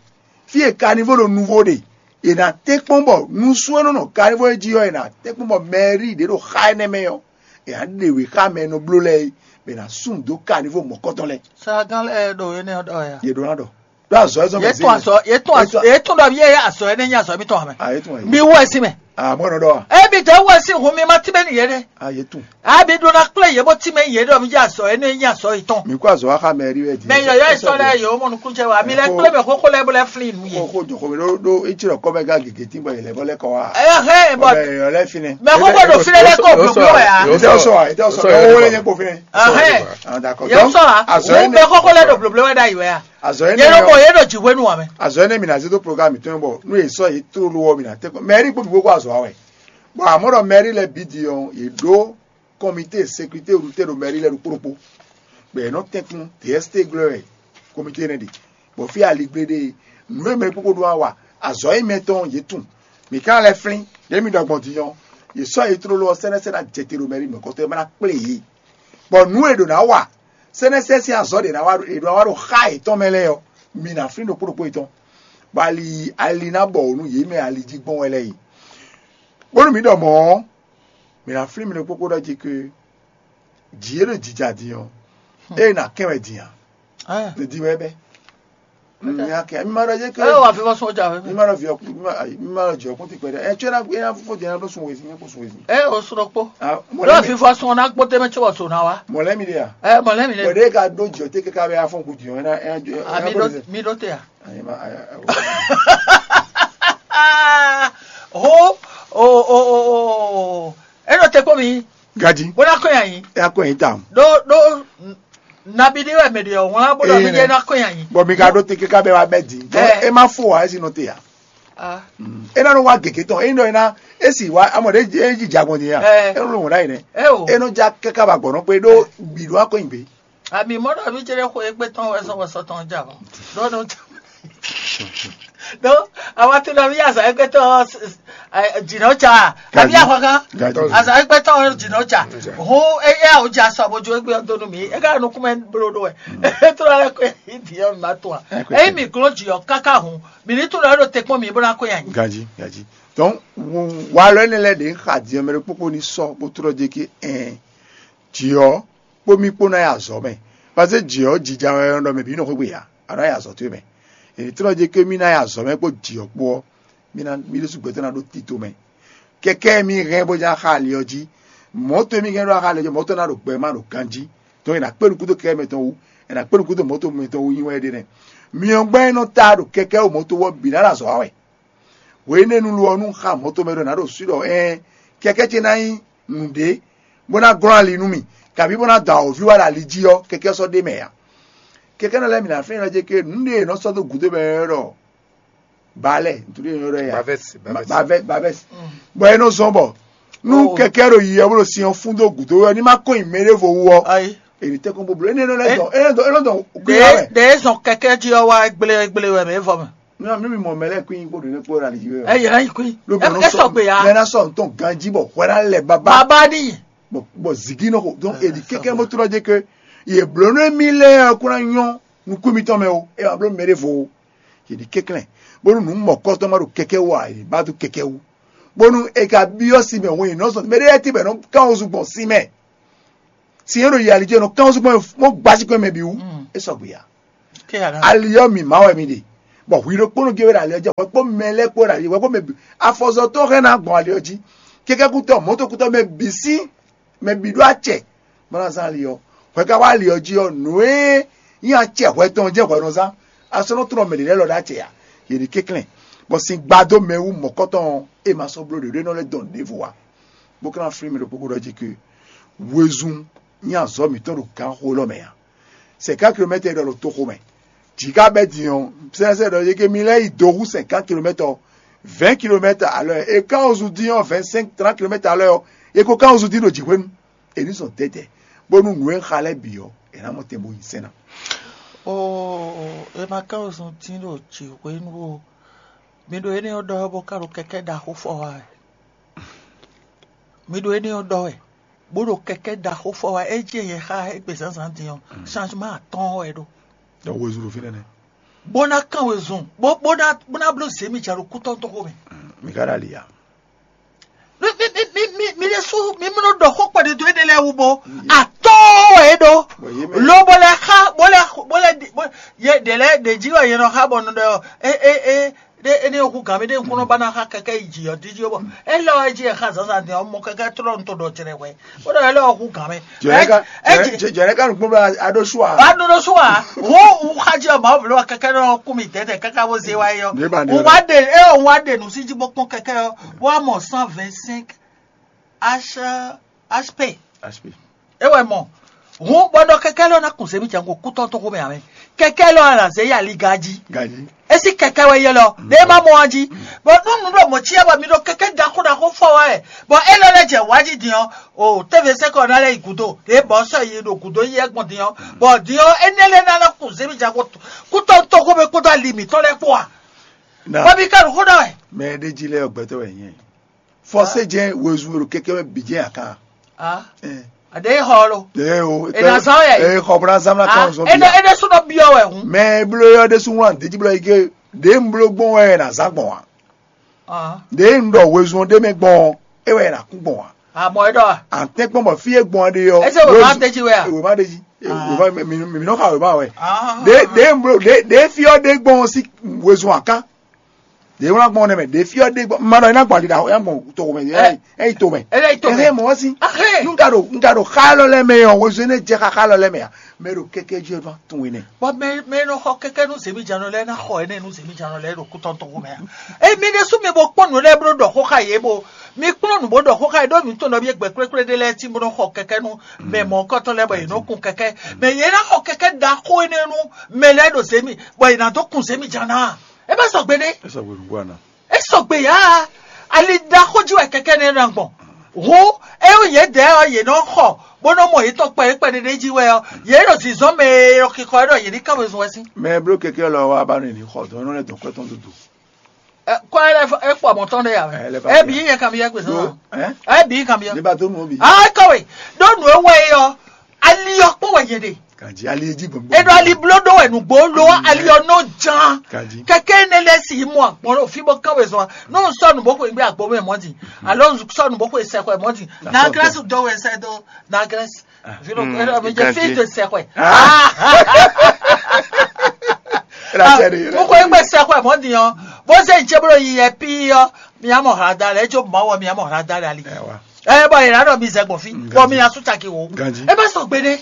fí e kanivó ɖo nuvo ɖe, è nǎ tɛ́nkpɔ́n bɔ nusú e nɔ nɔ kanivó e jí ɔ́, è nǎ tɛ́nkpɔ́n bɔ mɛrí ɖě ɖo xá énɛ́ mɛ ɔ́, è nǎ ɖe wě xá mɛ e nɔ bló lɛ́ɛ é, bɔ è nǎ sú nǔ dó kanivó mɔ̌kɔtɔn lɛ́ɛ. Saagán lɛ́ɛ ɖo énɛ́ ɔ́ ɖɔ ya. Yě ɖó ná ɖɔ. Ɖó azɔ̌ e zɔ́n mɛ yě tún azɔ yě tún azɔ yě tún ɖɔ yé azɔ énɛ́ nyí azɔ mítɔn amɛ. Ah, yě tún wɛ. Mi wɛ si mɛ. Ah, mɔ̌ nɔ ɖɔ wa. Ebi tɛ wɛ si hun mi ma tí bɛ ni yé ɖe. Ah, yě tún. Abi ɖó ná kplé yě bó tí mɛ yé ɖɔ mi jɛ azɔ énɛ́ nyí azɔ yětɔn. Mi kó azɔ wa xa mɛ rí wɛ di. Mɛ yɔyɔ yi sɔ lɛ yòó mɔ nukún jɛ wa mi lɛ kplé mɛ xóxó lɛ bó lɛ flin nu yé. Kó kó jɔ xɔmi ɖó ɖó etsi ɖɔ kɔmɛ gá gègé tí bɔ yɛ lɛ bɔ lɛ kɔ wa. Ɛ hɛn bɔ Bɔ yɛ lɛ finɛ. Mɛ xóxó ɖo fi lɛ kɔ blóbló wɛ ya. Yóò Ete sọ, sọ, ete sọ, yóò sọ, ɔwɔ yóò lẹ sọ. Nyɛ kpo finɛ. Ahɛn. Anda kɔ. Yóò sọ wa. Azɔ Wọ́n énɛ́. Bɛ xóxó lɛ ɖo blóbló wɛ ɖ'ayǐ wɛ ya. Azɔ Yé énɛ́ ɖo bɔ yɔ. Yé ɖo jǐ hwenu wɛ mɛ. Azɔ énɛ́ mi na zé dó programme tɔn bɔ nú yě sɔ yě tlóló ɔ́ mi na tɛ́ kɔ. Mɛri kpó bǐ kó azɔ wa wɛ. Bɔ àmọ́ ɖɔ mɛri lɛ bǐ di ɔ́, yě ɖó kɔmité sécurité rúté ɖo mɛri lɛ ɖokpó ɖokpó. Bɔ yě nɔ tɛ́nkún D S T glɔ́ wɛ kɔmité nɛ ɖe. Bɔ fí aligblé ɖe nǔ e mɛ kpókpó ɖó wa wa azɔ̌ e mɛ tɔn yě tunwun. Mǐ ka lɛ́ flín ɖě mi ɖɔ gbɔn din ɔ́, yě sɔ́ yě tlóló ɔ́ sɛ́nɛ́sɛ́ ná jɛ te ɖo mɛri mɔ̌kɔtɔn e ma ná kplé yě. Bɔ nǔ e ɖǒ ná wa sɛ́nɛ́sɛ́ sín azɔ̌ ɖě ná wa ɖě ná wa ɖo xá yětɔn mɛ lɛ́ɛ ɔ́, mi ná flín ɖokpó ɖokpó yětɔn, bɔ ali ali ná bɔ nú yě mɛ ali jí gbɔn wɛ lɛ́ɛ yi. Bónú mǐ ɖɔ mɔ̌ ɔ́, mǐ ná flín mi ɖokpó kpó ɖɔ jí ké jǐ e ɖo jǐja din ɔ́, ée ná kɛn wɛ din ǎ. Ne din wɛ bɛ́. Mi ná kɛn mi ma ɖɔ jí ké Ɛ wà fi fɔ sɔn jà mi fɛ. Ma ɖɔ viɔ mi ma ɖɔ jɔ kún ti kpɛ dɛ. Ɛ tsɔɛ na ena fofo jɛ na ɖo sun wezi ne ko sun wezi. Ɛ o sɔrɔ kpó. Ah, Lọ mɔlɛ mi fi fɔ sɔn na kpó tɛmɛ tí wɔ sɔn na wa. Mɔlɛ mi de ya. Ɛ mɔlɛ mi Bɔ lɛ. De ka do jɔ te kaka bɛ afɔ ku jɔ ena ena jɔ. Ami ɖo mi ɖo te ya. Ayi ma ayi. Ho o o o o. E ɖo te kpó mi. Gaji. Bó ná kó yan yín. E akó yan yín tam. Ɖó ɖó nabi ɖé wɛ mɛ ɖe ɔ̀hún lá bó ɖɔ mi jẹ́ ná kó yan yín. Bɔ mi ka ɖo te kaka bɛ wa bɛ di. Ɛ. E ma fo wa esi nɔ te ya. Ah. E na nɔ wa gègé tɔn e nɔ e na esi wa amɔ ɖe e ji jagbɔn di ya. Ɛ. E nɔ lɔ wɔn ɖa yi nɛ. Ɛ o. E nɔ ja kaka ba gbɔnɔ kpe ɖo gbi ɖo akɔ yin gbe. Ami mɔ ɖɔ mi jẹ́ kó egbe tɔn wɛ sɔ wɛ sɔ tɔn ja bɔ. Ɖɔ nɔ ja. Ɖo awa tún ɖɔ mi azɔ egbe tɔn jìnnà ca. Ami Gaji. Ahɔn kan. Gaji. Azɔ egbe tɔn jìnnà ca. Ho eya o ja sɔ bo jo egbe ɔn donu mi. Ega nukun mɛ bolo ɖo wɛ. Etrɔ lɛ kó edi ɔn ma tún a. Ɛ kó Eyi edi. Mi glɔn jì ɔ kaka hun. Mi ni tún lɔ ɖo te kpɔn mi bó ná kó yan nyi. Gaji, gaji. Donc, walɔ énɛ́ lɛ́ɛ ɖě ń xa din ɔ́ mɛ ɖokpókpó ní sɔ́ bó tlɔ́ jɛ kí ɛn jǐ ɔ́ kpó mì kpó ná yi azɔ̌ mɛ. Paseke jǐ ɔ́ jija wɛ ɔ́ ɖɔ mɛ bǐ nɔ xwé gbe ǎ, a nǎ yi azɔ̌ towe mɛ. È ní tlɔ́ jɛ kí mì ná yi azɔ̌ mɛ kpó jǐ ɔ́ kpó ɔ́, mì ná mì ɖésú gbɛtɔ́ ná ɖó tito mɛ. Kɛkɛ́ mì hɛn bó ján xa ali ɔ́ jí. Mɔ̌ towe mì hɛn ɖó xa ali ɔ́ jí, mɔ̌ tɔn ná ɖo gbɛ má ɖo ganjí. Tɔn è nǎ kpé nukúndó kɛkɛ́ mɛtɔn wú, è nǎ kpé nukúndó mɔ̌to mɛtɔn wú nyi wɛ ɖe nɛ́. Myɔ gbɛ́ e nɔ ta ɖo kɛkɛ́ wú mɔ̌to wú ɔ́ bǐ ná ɖo azɔ̌ wa wɛ. Hwenɛ́nu lo ɔ́, nú un xa mɔ̌ tomɛ ɖɔ nǎ ɖo swi ɖɔ ɛɛn, kɛkɛ́ ce ná nyí nǔɖé, bó ná glɔ́n ali nú mì, kabǐ bó ná da awǒvi wá ɖo ali jí ɔ́, kɛkɛ́ sɔ́ ɖ'é mɛ ǎ. Kɛkɛ́ nɔ lɛ́ɛ mǐ ná fɛ́n nɔ jɛ ké nǔɖé e è nɔ sɔ́ dó gǔdo mɛ ɔ́ ɖɔ balɛ, ntúɖé e è nɔ ɖɔ yɛ Bavɛs, bavɛs. Bavɛs, bavɛs. Bɔ é nɔ zɔn bɔ nú Oh. kɛkɛ́ ɖo yi ɔ́ bó ɖo sin ɔ́ fún dó gǔdo ɔ́, ní má kɔn nyi mɛ ɖěvo wú ɔ́, Ayi. È nǐ tɛ́nkpɔ́n bó bló. Énɛ́ nɔ lɛ́ Ɛ- dɔn, énɛ́ dɔn, énɛ́ dɔn, Ɖe ɖe zɔn kɛkɛ jí ɔ́ wá gblé gblé wɛ mɛ vɔ mɛ. Non, mi mi mɔ mɛ lɛ kún kó ɖo ne kó la li yɔ. Ɛ yɛ na yi kún. Ló bɛ E sɔgbe ya. Mɛ na sɔ ntɔn ganji bɔ hwɛ na lɛ baba. Baba ni. Bɔ bɔ zigi nɔ ko. Donc e di keke mo trɔ je ke ye blo ne mi lɛ ko na nyɔ nukú mi tɔn mɛ o. E ma blo mɛ de vo. Ye di kekle. Bonu nu mɔ kɔtɔ ma ɖo keke wa ye ba do keke wu. Bonu e ka biɔ si mɛ wo ye nɔ sɔ mɛ de ti bɛ nɔ kan o zu gbɔn si mɛ. Si yɛn ɖo yi ali jɛ nɔ kán sukpɔn mo gbasi kpɛn mɛ bi wú. E sɔgbe ya. Ali ɔ́ mi ma wɛ mi ɖe. Bɔ hwi ɖokpónɔ gé wɛ ɖo ali ɔ́ jɛ wɛ kpó mɛ lɛ kpó ɖo ali wɛ kpó mɛ bi afɔzɔtɔ hɛn na gbɔn ali ɔ́ jí. Kɛkɛkutɔ mɔtokutɔ mɛ bi sí mɛ bi ɖó acɛ. Mɔna zan ali ɔ́ hwɛ ka wá ali ɔ́ jí ɔ́ nǔ e nyi acɛ hwɛ tɔn jɛ hwɛ nɔ zán. Asɔnɔ trɔ mɛ ɖe lɛ lɔ ɖo acɛ ya. Yě ɖi kɛnklɛn bɔ sin gbadó mɛ wú mɔ̌kɔtɔn ɔ́ e ma sɔ́ bló ɖě ɖó e nɔ lɛ́ dɔn ɖěvo ǎ. Bó ka ná flín mi ɖo kpókpó ɖɔ jí ke Wezun nyí azɔ̌ mǐtɔn ɖo gǎnxó élɔ́ mɛ ǎ. Cinquante kilomètres ɖɔ ɖo toxo mɛ. Jǐ ka bɛ́ din ɔ́, sɛ́sɛ ɖɔ yě ké mi lɛ́ yi do hú cinquante kilomètres ɔ́, vingt kilomètres à l'heure, é ka ɔ́ zun dín ɔ́, vingt cinq trente kilomètres à l'heure ɔ́, é ko ka ɔ́ zun dín ɖo jǐxwénu. È ní zɔn dɛ̌dɛ̌, bónú nǔ e xa lɛ́ɛ bǐ ɔ́, è nǎ mɔ tɛn bó nyi sɛ́n ná. Oo, è ma ka ɔ́ zun dín ɖo jǐxwénu ó. Mi ɖo énɛ́ ɔ́ ɖɔ wɛ bó ka ɖo kɛkɛ́ ɖaxó fɔ wá wɛ. Mi ɖo énɛ́ ɔ́ ɖɔ wɛ, bó ɖo kɛkɛ́ ɖaxó fɔ wá. É jí yɛ xá égbé zǎnzǎn din ɔ́, changement atɔ́ɔ́n wɛ é ɖó. Ɖɔ wezun ɖo fínɛ́ nɛ́. Bó ná kán wezun, bó bó ná bó ná bló zě mi jà ɖo kútɔ́ntɔ́ xó mɛ. Mi ka ɖo ali ya. Mi mi mi mi mi mi ɖésú mi mló ɖɔ xó kpɛɖé dó éɖé lɛ́ɛ wú bó atɔ́ɔ́n wɛ é ɖó. Bɔ yé mɛ Lo bó lɛ xá bó lɛ bó lɛ di- bó- yɛ ɖě lɛ́ɛ ɖě jí wɛ yɛ nɔ xá bɔ nɔ ɖɔ é é é ɖé énɛ́ ɔ́ hú gǎn mɛ ɖé ŋkúnɔ ba ná xa kɛkɛ yi jǐ ɔ́ díjí ɔ́ bɔ é lɔ wɛ jí e xa zǎnzǎn din ɔ́ mɔ kɛkɛ tlɔ́ nu to ɖɔ jɛnɛ hwɛ bó ɖɔ é lɔ wɛ hú gǎn mɛ. Jɛnɛ ka Ɛ- ɛ- jɛnɛ jɛ- jɛnɛ ka nukpɔn bla aɖo su a. Wa ɖo ɖo su wa wo wu xa jí ɔmɔ wò lɔ kɛkɛ nɔ kú mi dɛdɛ kaka wo ze wa yi ɔmɔ Ní ba ɖe wò wa ɖe e wò wa ɖe nu sí jí bó kpɔn kɛkɛ ɔ́ wa mɔ cent vingt cinq h hp. Aspi. E wɛ mɔ hun bɔ ɖɔ kɛkɛ lɔ na kun zemi jango kútɔ tó xomɛ amɛ kɛkɛ lɔ la zɛ ya liga jí. Gaji. Esi kɛkɛ wɛ yɛ lɔ ɖe ma mɔ wa jí bɔ nunu ɖo mɔ cia bɔ mi ɖo kɛkɛ ɖaxó ɖaxó fɔ wa yɛ bɔ e lɔ lɛ jɛ wa jí din ɔ o tɛvɛ sɛkɔ na lɛ yi gudo ɖe bɔ sɔ yi ɖo gudo yi ɛgbɔn din ɔ bɔ din ɔ enɛ lɛ na na kun zemi jango kútɔ tó xomɛ kpódó ali mǐtɔn lɛ kpó wa. Na bɔ mi ka ɖo xó ɖɔ wɛ. Mɛ ɖe jí lɛ gbɛtɔ wɛ nyɛ. Fɔse jɛ wezun ɖo kɛkɛ mɛ bi jɛ akan. Ah. Ɛ. Ade xɔ lo. Ɛ o. E na zan yɛ. Ɛ xɔ bla zan na kan zɔn ene bia. Ene suno biɔ wɛ hun. Mɛ blo yɔ de sun wlan de ji blo yi ke de n blo gbɔn wɛ na zan gbɔn wa. Ah. De n ɖɔ wezun de mɛ gbɔn e wɛ na kun gbɔn wa. Amɔ e ɖɔ. An tɛ gbɔn bɔ fi e gbɔn de yɔ. Ese wema de ji wɛ a. Wema de ji. Wema mi mi nɔ ka wema wɛ. Ah. De de n blo de de fi ɔ de gbɔn si wezun akan. Ɖě wlán gbɔn nɛ́ mɛ, ɖě fyɔ́ ɖé gbɔn, ma ɖɔ é ná gbɔn ali ɖaxó, é ná gbɔn toxo mɛ, é ná yi- é yi to mɛ. É ná yi to mɛ. Ɛhɛn, mɔ ɔ́ sí. Ahɛn. Nú ka ɖo nú ka ɖo xá élɔ́ lɛ́ɛ mɛ ɔ́, wezun énɛ́ jɛ xá xá élɔ́ lɛ́ɛ mɛ ǎ. Mɛ ɖo kɛ́kɛ́ jí ɔ́ ván tun we nɛ. Bɔ mɛ mɛ e nɔ xɔ kɛkɛ́ nú zěmíjánɔ lɛ́ɛ ná xɔ énɛ́ nú zěmíjánɔ lɛ́ɛ ɖo kútɔn toxo mɛ ǎ. Ée mi ɖésú mi bo kpɔ́n nǔ lɛ́ɛ bó ɖɔ xó xá yě bo mi kplɔ́n nǔ bó ɖɔ xó xá yě ɖó mǐ tunwun ɖɔ mi gbɛ̌ kplékplé ɖé lɛ́ɛ cí bó nɔ xɔ kɛkɛ́ nú mɛ mɔ̌kɔtɔn lɛ́ɛ bɔ yě nɔ kun kɛkɛ́. Mɛ yě ná xɔ kɛkɛ́ ɖaxó énɛ́ nú mɛ lɛ́ɛ ɖo zěmí bɔ yě ná dó kun zěmíjánɔ a? É má sɔgbe ɖé. É sɔgbe nǔgbó ana. É sɔgbe ya. Ali ɖaxó jí wɛ kɛkɛ nɛ ɖo gbɔn. Hu eo yě dɛ ɔ yě nɔ xɔ bó nɔ mɔ yě tɔn kpɛ kpɛ ɖeɖe jí wɛ ɔ yě ɖo zinzɔn mɛ e ɖo xixɔ ɖɔ yě ní ká wezun wɛ sín. Mɛ e bló kɛkɛ lɔ wa ba nɔ ní xɔ dɔn nɔ lɛ dɔn kɔtɔn dodo. Kɔ ɛ lɛ e kpɔ mɔ tɔn ɖe ya. Ɛ lɛ fa ɛ bi yɛ kan bi yɛ gbèsè Ɖó, náà. Ɛ? Ɛ bi kan bi yɛ. Ní ba tó nù ó bi. Ah, kɔwe ɖó nù ewɔ yi ɔ ali ɔ kpɔn wɛ yě ɖe. Kàjí alí ejí gbɔ̀ngbɔ̀n. Eɖɔ ali bló ɖó wɛ nǔgbó ló ali ɔ nɔ ján. Kàjí. Kɛkɛ ne lɛ si mɔ akpɔn ɖo fi bɔ kán wezɔn n'o sɔnu bó xwe gbé agbo mɛ mɔ di alo sɔnu bó xwe sɛxwɛ mɔ di na grɛsi do wɛ sɛ do na grɛsi. Vino Mm, eɖɔ mi jɛ fi Kàjí. De sɛxwɛ. Era sɛ de. Mo xwe gbé sɛxwɛ mɔ di ɔ bó se ntse bó yi yɛ pi ɔ mi amɔ hla da lɛ edzo mɔ wɔ mi amɔ hla da lɛ ali. Ɛ wa. Ɛ bɔ yìí lánàá mi zɛ gbɔn fi Mm, bɔ mi Kàjí. Asu taki wo. Kàjí. E bɛ sɔ gbe ne.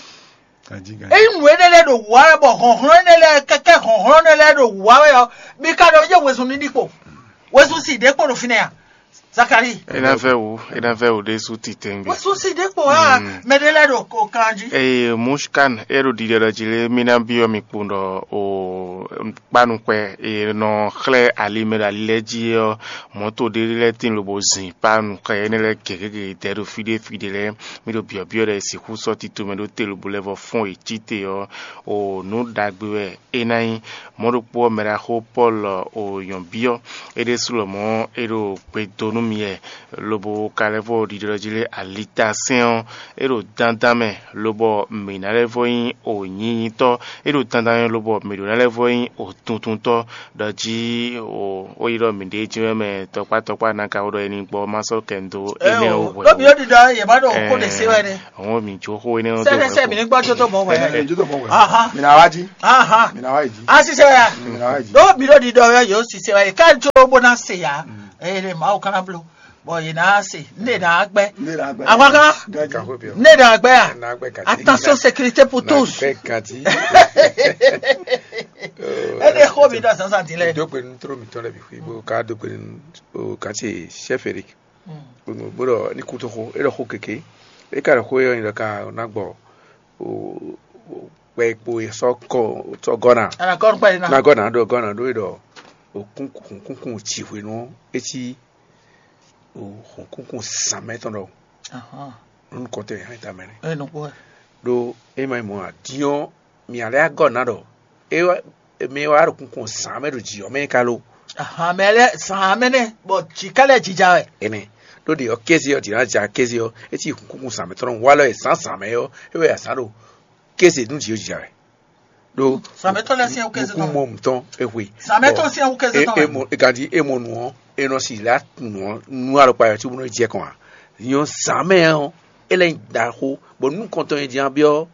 Ganjí ganjí. Eyi nǔ énɛ́ lɛ́ɛ ɖo wǔ wá wɛ bɔ hlɔ̌nhlɔ́n énɛ́ lɛ́ɛ kɛkɛ́ hlɔ̌nhlɔ́n énɛ́ lɛ́ɛ ɖo wǔ wá wɛ ɔ́, mi ka ɖɔ yé wezun ní ɖi kpo. Wezun si ɖě kpo ɖo fínɛ́ a? Zakalíi. É ná vɛ́ wǔ, é ná vɛ́ wǔ ɖésú titɛngbé. Wezun si ɖě kpo a? Mm. Mɛ ɖé lɛ́ɛ ɖo ko kan jí. Eye Mushkan e ɖo ɖiɖe ɖɔ jí lé, mí ná byɔ́ mi kpowun ɖɔ o kpánuxwɛ e nɔ xlɛ́ ali mɛ ɖo ali lɛ́ɛ jí ɔ́, mɔ̌to ɖé lɛ́ɛ tín lobo zin kpánuxwɛ énɛ́ lɛ́ɛ gěgé gěgé ɖo fí ɖé fí ɖé lɛ́ɛ. Mí ɖo byɔ̌byɔ́ ɖɔ è sixú sɔ́ tito mɛ ɖó te lobo lɛ́ vɔ fɔ́n yě cí te ɔ́, o nǔ ɖagbe wɛ é ná nyí. Mɔ̌ ɖokpó ɔ́, mɛɖaxó Pɔ́lu o nyɔ̌byɔ́ é ɖésú lɔmɔ̌ é ɖo gbe dó nú mi wɛ, lobo ka lɛ́ vɔ ɖiɖɔ jí lé alitasɛ́n ɔ́, é ɖo dandan mɛ, lobɔ mǐ ná lɛ́ vɔ nyí o nyinyi tɔ́, é ɖo dandan mɛ, lobɔ mǐ ɖó ná lɛ́ vɔ nyí o tuntuntɔ́, ɖɔ jí o ó yi ɖɔ mǐɖée jɛ́n wɛ mɛ tɔkpá tɔkpá ná ka wó ɖɔ é ní gbɔ má sɔ́ kɛ n dó énɛ́ ó hwɛ̌. Ɖó mi ó ɖiɖɔ yě má ɖo kó ɖe sé wɛ ɖe. Àwọn mi jó xó énɛ́ ó dó sɛ́dɛ́ sɛ mi ní gbọ́ jó tó mɔ wɛ. Ɛ ɛ jó tó mɔ wɛ. Aha. Mi na wá jí. Aha. Mi na wá jí. A sisɛ ya. Mi na wá jí. Ɖó mi ɖó ɖiɖɔ yɛ yóò sisɛ wɛ ká jó bó ná se ya. Eye ɖe Mawu kana blo. Bɔn yě ná se, ne ná gbɛ. Ne ná gbɛ. Àwọn kan. Gaji. Ne ná gbɛ ya. Na gbɛ kati. Attention sécurité pour tous. Gbɛ kati. Ede xó mi ɖo azǎnzǎn din lɛ. Dógbe nu tró mitɔn lɛ bi xwi bó ká dógbe nu o kati sɛfɛri. Bó ɖɔ ní kú tó xó é ɖɔ xó kéké. É ka ɖo xó e ɔ́ nyi ɖɔ ka ná gbɔ kpɛ kpo e sɔ́ kɔ sɔ́ gɔ́ ná. Ana gɔ́ nukpa yi ná. Ná gɔ́ ná ɖo gɔ́ ná ɖó e ɖɔ òkúnkún jǐhwenu ɔ́, é cí hɔ̌nkúnkún zǎnmɛ tɔn ɖɔhun. Ahán. Nú nukɔntɔn e hɛn tamɛ nɛ́. Ɛ nukpó wɛ. Ɖó é ma nyí mɔ̌ ǎ. Din ɔ́, mǐ ná lɛ́ gɔ́ ná ɖɔ é wá mɛ e wá ɖo kunkun zǎn mɛ ɖo jǐ ɔ́ mɛ é ka lo. Ahán, mɛ lɛ́ɛ zǎn mɛ nɛ́, bɔ jǐ ká lɛ́ɛ jija wɛ. Énɛ́ ɖó ɖě ɔ́, kéze ɔ́, jǐ ná ja kéze ɔ́, é cí kunkun zǎn mɛ tɔn wa lɔ e zǎnzǎn mɛ ɔ́, é wɛ azǎn ɖo kéze nú jǐ ɔ́ jija wɛ. Ɖó Zǎn mɛ tɔn lɛ́ɛ sín ɛ́ wú kéze tɔn nukúnmɔ mǐtɔn é hwe. Zǎn mɛ tɔn sín ɛ́ wú kéze tɔn wɛ. Ganjí é mɔ nǔ ɔ́, é nɔ si lá nǔ ɔ́ nú alɔkpa yɔ cóbónɔ jɛ kɔn ǎ. Nyɔ zǎn mɛ ɔ́, é lɛ́ nyí ɖaxó, bɔ nú kɔntɔn e jí ná byɔ́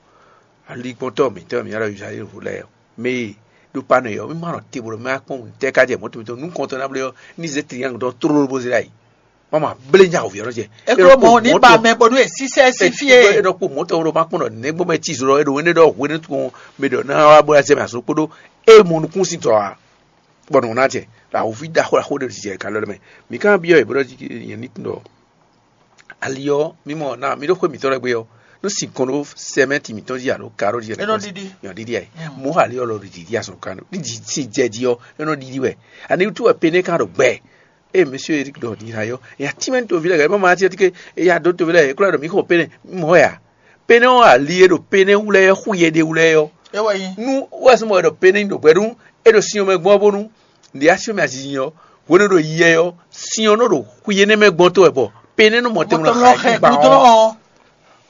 aligbɔntɔ́ mǐtɔn e mǐ ylɔ́ ɖɔ Izlayɛ́li lɛ́ɛ ɔ́, mɛ e ɖo Panɔ ɔ́, mí ma nɔ te bo ɖɔ mɛ wá kpɔ́n nǔtɛ́ ká jɛ mɔ̌ tɔn mǐtɔn nú kɔntɔn ná blé ɔ́, ní zé triangle tɔn tlóló bó zé ɖ'ayǐ. Wọ́n ma blé nya wǒ ví ɔ́ nɔ jɛ. É kló mɔ ní ba mɛ bónú è sísɛ́ sín fí é. É nɔ kpó mɔ̌ tɔn ɖo ma kpɔ́n ɖɔ nɛ̌gbɔn mɛ cí zlɔ́ é ɖo énɛ́ ɖɔ hwenu tɔn mɛ ɖɔ ná wá bó ná jɛ mɛ azɔn kpódó é mɔ nukún sín tɔ ǎ. Bɔ nǔ ná jɛ, ɖo awǒvi ɖaxó ɖaxó ɖé ɖo jijɛ e ka lɔ mɛ. Mǐ ka byɔ́ yě bó ɖɔ jí nyɛ ní tunwun ɖɔ ali ɔ́, mí mɔ ná mí ɖó xwé mǐtɔn lɛ́ɛ gbe ɔ́, nú sinkɔn ɖó sɛmɛ́nti mǐtɔn jí alo karó jí É nɔ ɖiɖi. Nyɔ ɖiɖi ɛ. Mɔ̌ ali ɔ́ lɔ ɖo ɖiɖi azɔn kan ní sin jɛ jí ɔ́, é nɔ ɖiɖi wɛ. Ani wútu wɛ Pené ka ɖo gbɛ? Ée Mɛsíɔ Erik ɖɔ din ná yɔ, ya tínmɛ nú toví lɛ́ɛ, ma ma cí ɔ́, tike ya dó toví lɛ́ɛ, é kúlɔ ɖɔ mǐ xɔ Pené, mɔ̌ wɛ a? Pené ɔ́ ali e ɖo Pené wú lɛ́ɛ ɔ́, xú yɛ ɖe wú lɛ́ɛ ɔ́. É wɛ nyí. Nú wɛ sɔ́ mɔ wɛ ɖɔ Pené nyi ɖo gbɛ nú é ɖo sin ɔ́ mɛ gbɔn ɔ́ bónú ɖě así mɛ azinzin ɔ́, hwenu e ɖo yiyɛ ɔ́, sin ɔ́ nɔ ɖo xwi énɛ́ mɛ gbɔn tó wɛ bɔ Pené nɔ mɔ tɛnmɛ nɔ xa ɛ gbá ɔ́.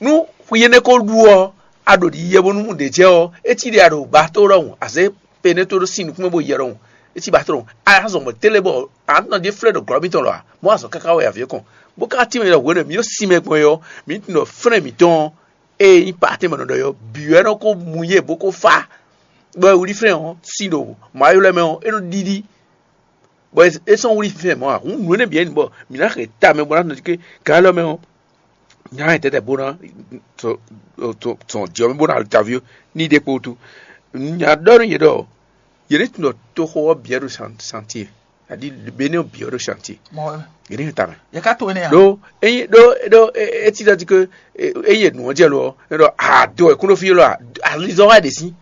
Nú xwi énɛ́ ko ɖu ɔ́, a ɖo ɖiɖi bónú mú ɖě jɛ ɔ́, é cí ɖe a ɖo ba tó ɖɔhun, a zě Pené tó ɖó sin nukún mɛ bó yɛ ɖɔhun, é cí ba tó ɖɔhun. A zɔn mɔ télé bɔ a nɔ ɖe flɛ́ ɖo glɔ́ mitɔn lɔ a, mɔ̌ azɔn káká wɛ avě kɔn. Bó ka tín mɛ ɖɔ hwenu e mǐ ɖo sin mɛ gbɔn é ɔ́, mǐ tunwun ɖɔ flɛ́ mǐtɔn ɔ́, ée nyí Patɛ́n mɛ nɔ ɖɔ é ɔ́ bǐ wɛ nɔ ko mu yé bó ko fá, bɔ è wlí flɛ́n ɔ́, sin ɖo Mawu ylɔ́ mɛ ɔ́, é nɔ ɖiɖi, bɔ é sɔ́ wlí flɛ́n mɔ̌ ǎ. Hǔn nǔ énɛ́ bǐ wɛ nyí bɔ mǐ ná hɛn ta mɛ bó ná nɔ jí ké gan élɔ́ mɛ ɔ́, nya hɛn tɛ́tɛ́ bó ná tɔn jǐ ɔ́ mɛ bó ná alu taví ɔ́ ní ɖe kpo wútu. Nya ɖɔ nú yě ɖɔ yě ní tunwun ɖɔ toxo ɔ́ bǐ wɛ ɖo santie, aɖi Benɛ́ ɔ́ bǐ wɛ ɖo santie. Mɔ wɛ. Yě ní hɛn ta mɛ. Yɛ ká to énɛ́ ǎ. Ɖó ényí ɖó ɖó etí ɖɔ jí ké ényí è nǔ ɔ́ jɛ lo ɔ́, é ɖɔ ado wɛ kún ɖó fí élɔ́ alizɔn wá ɖě sí,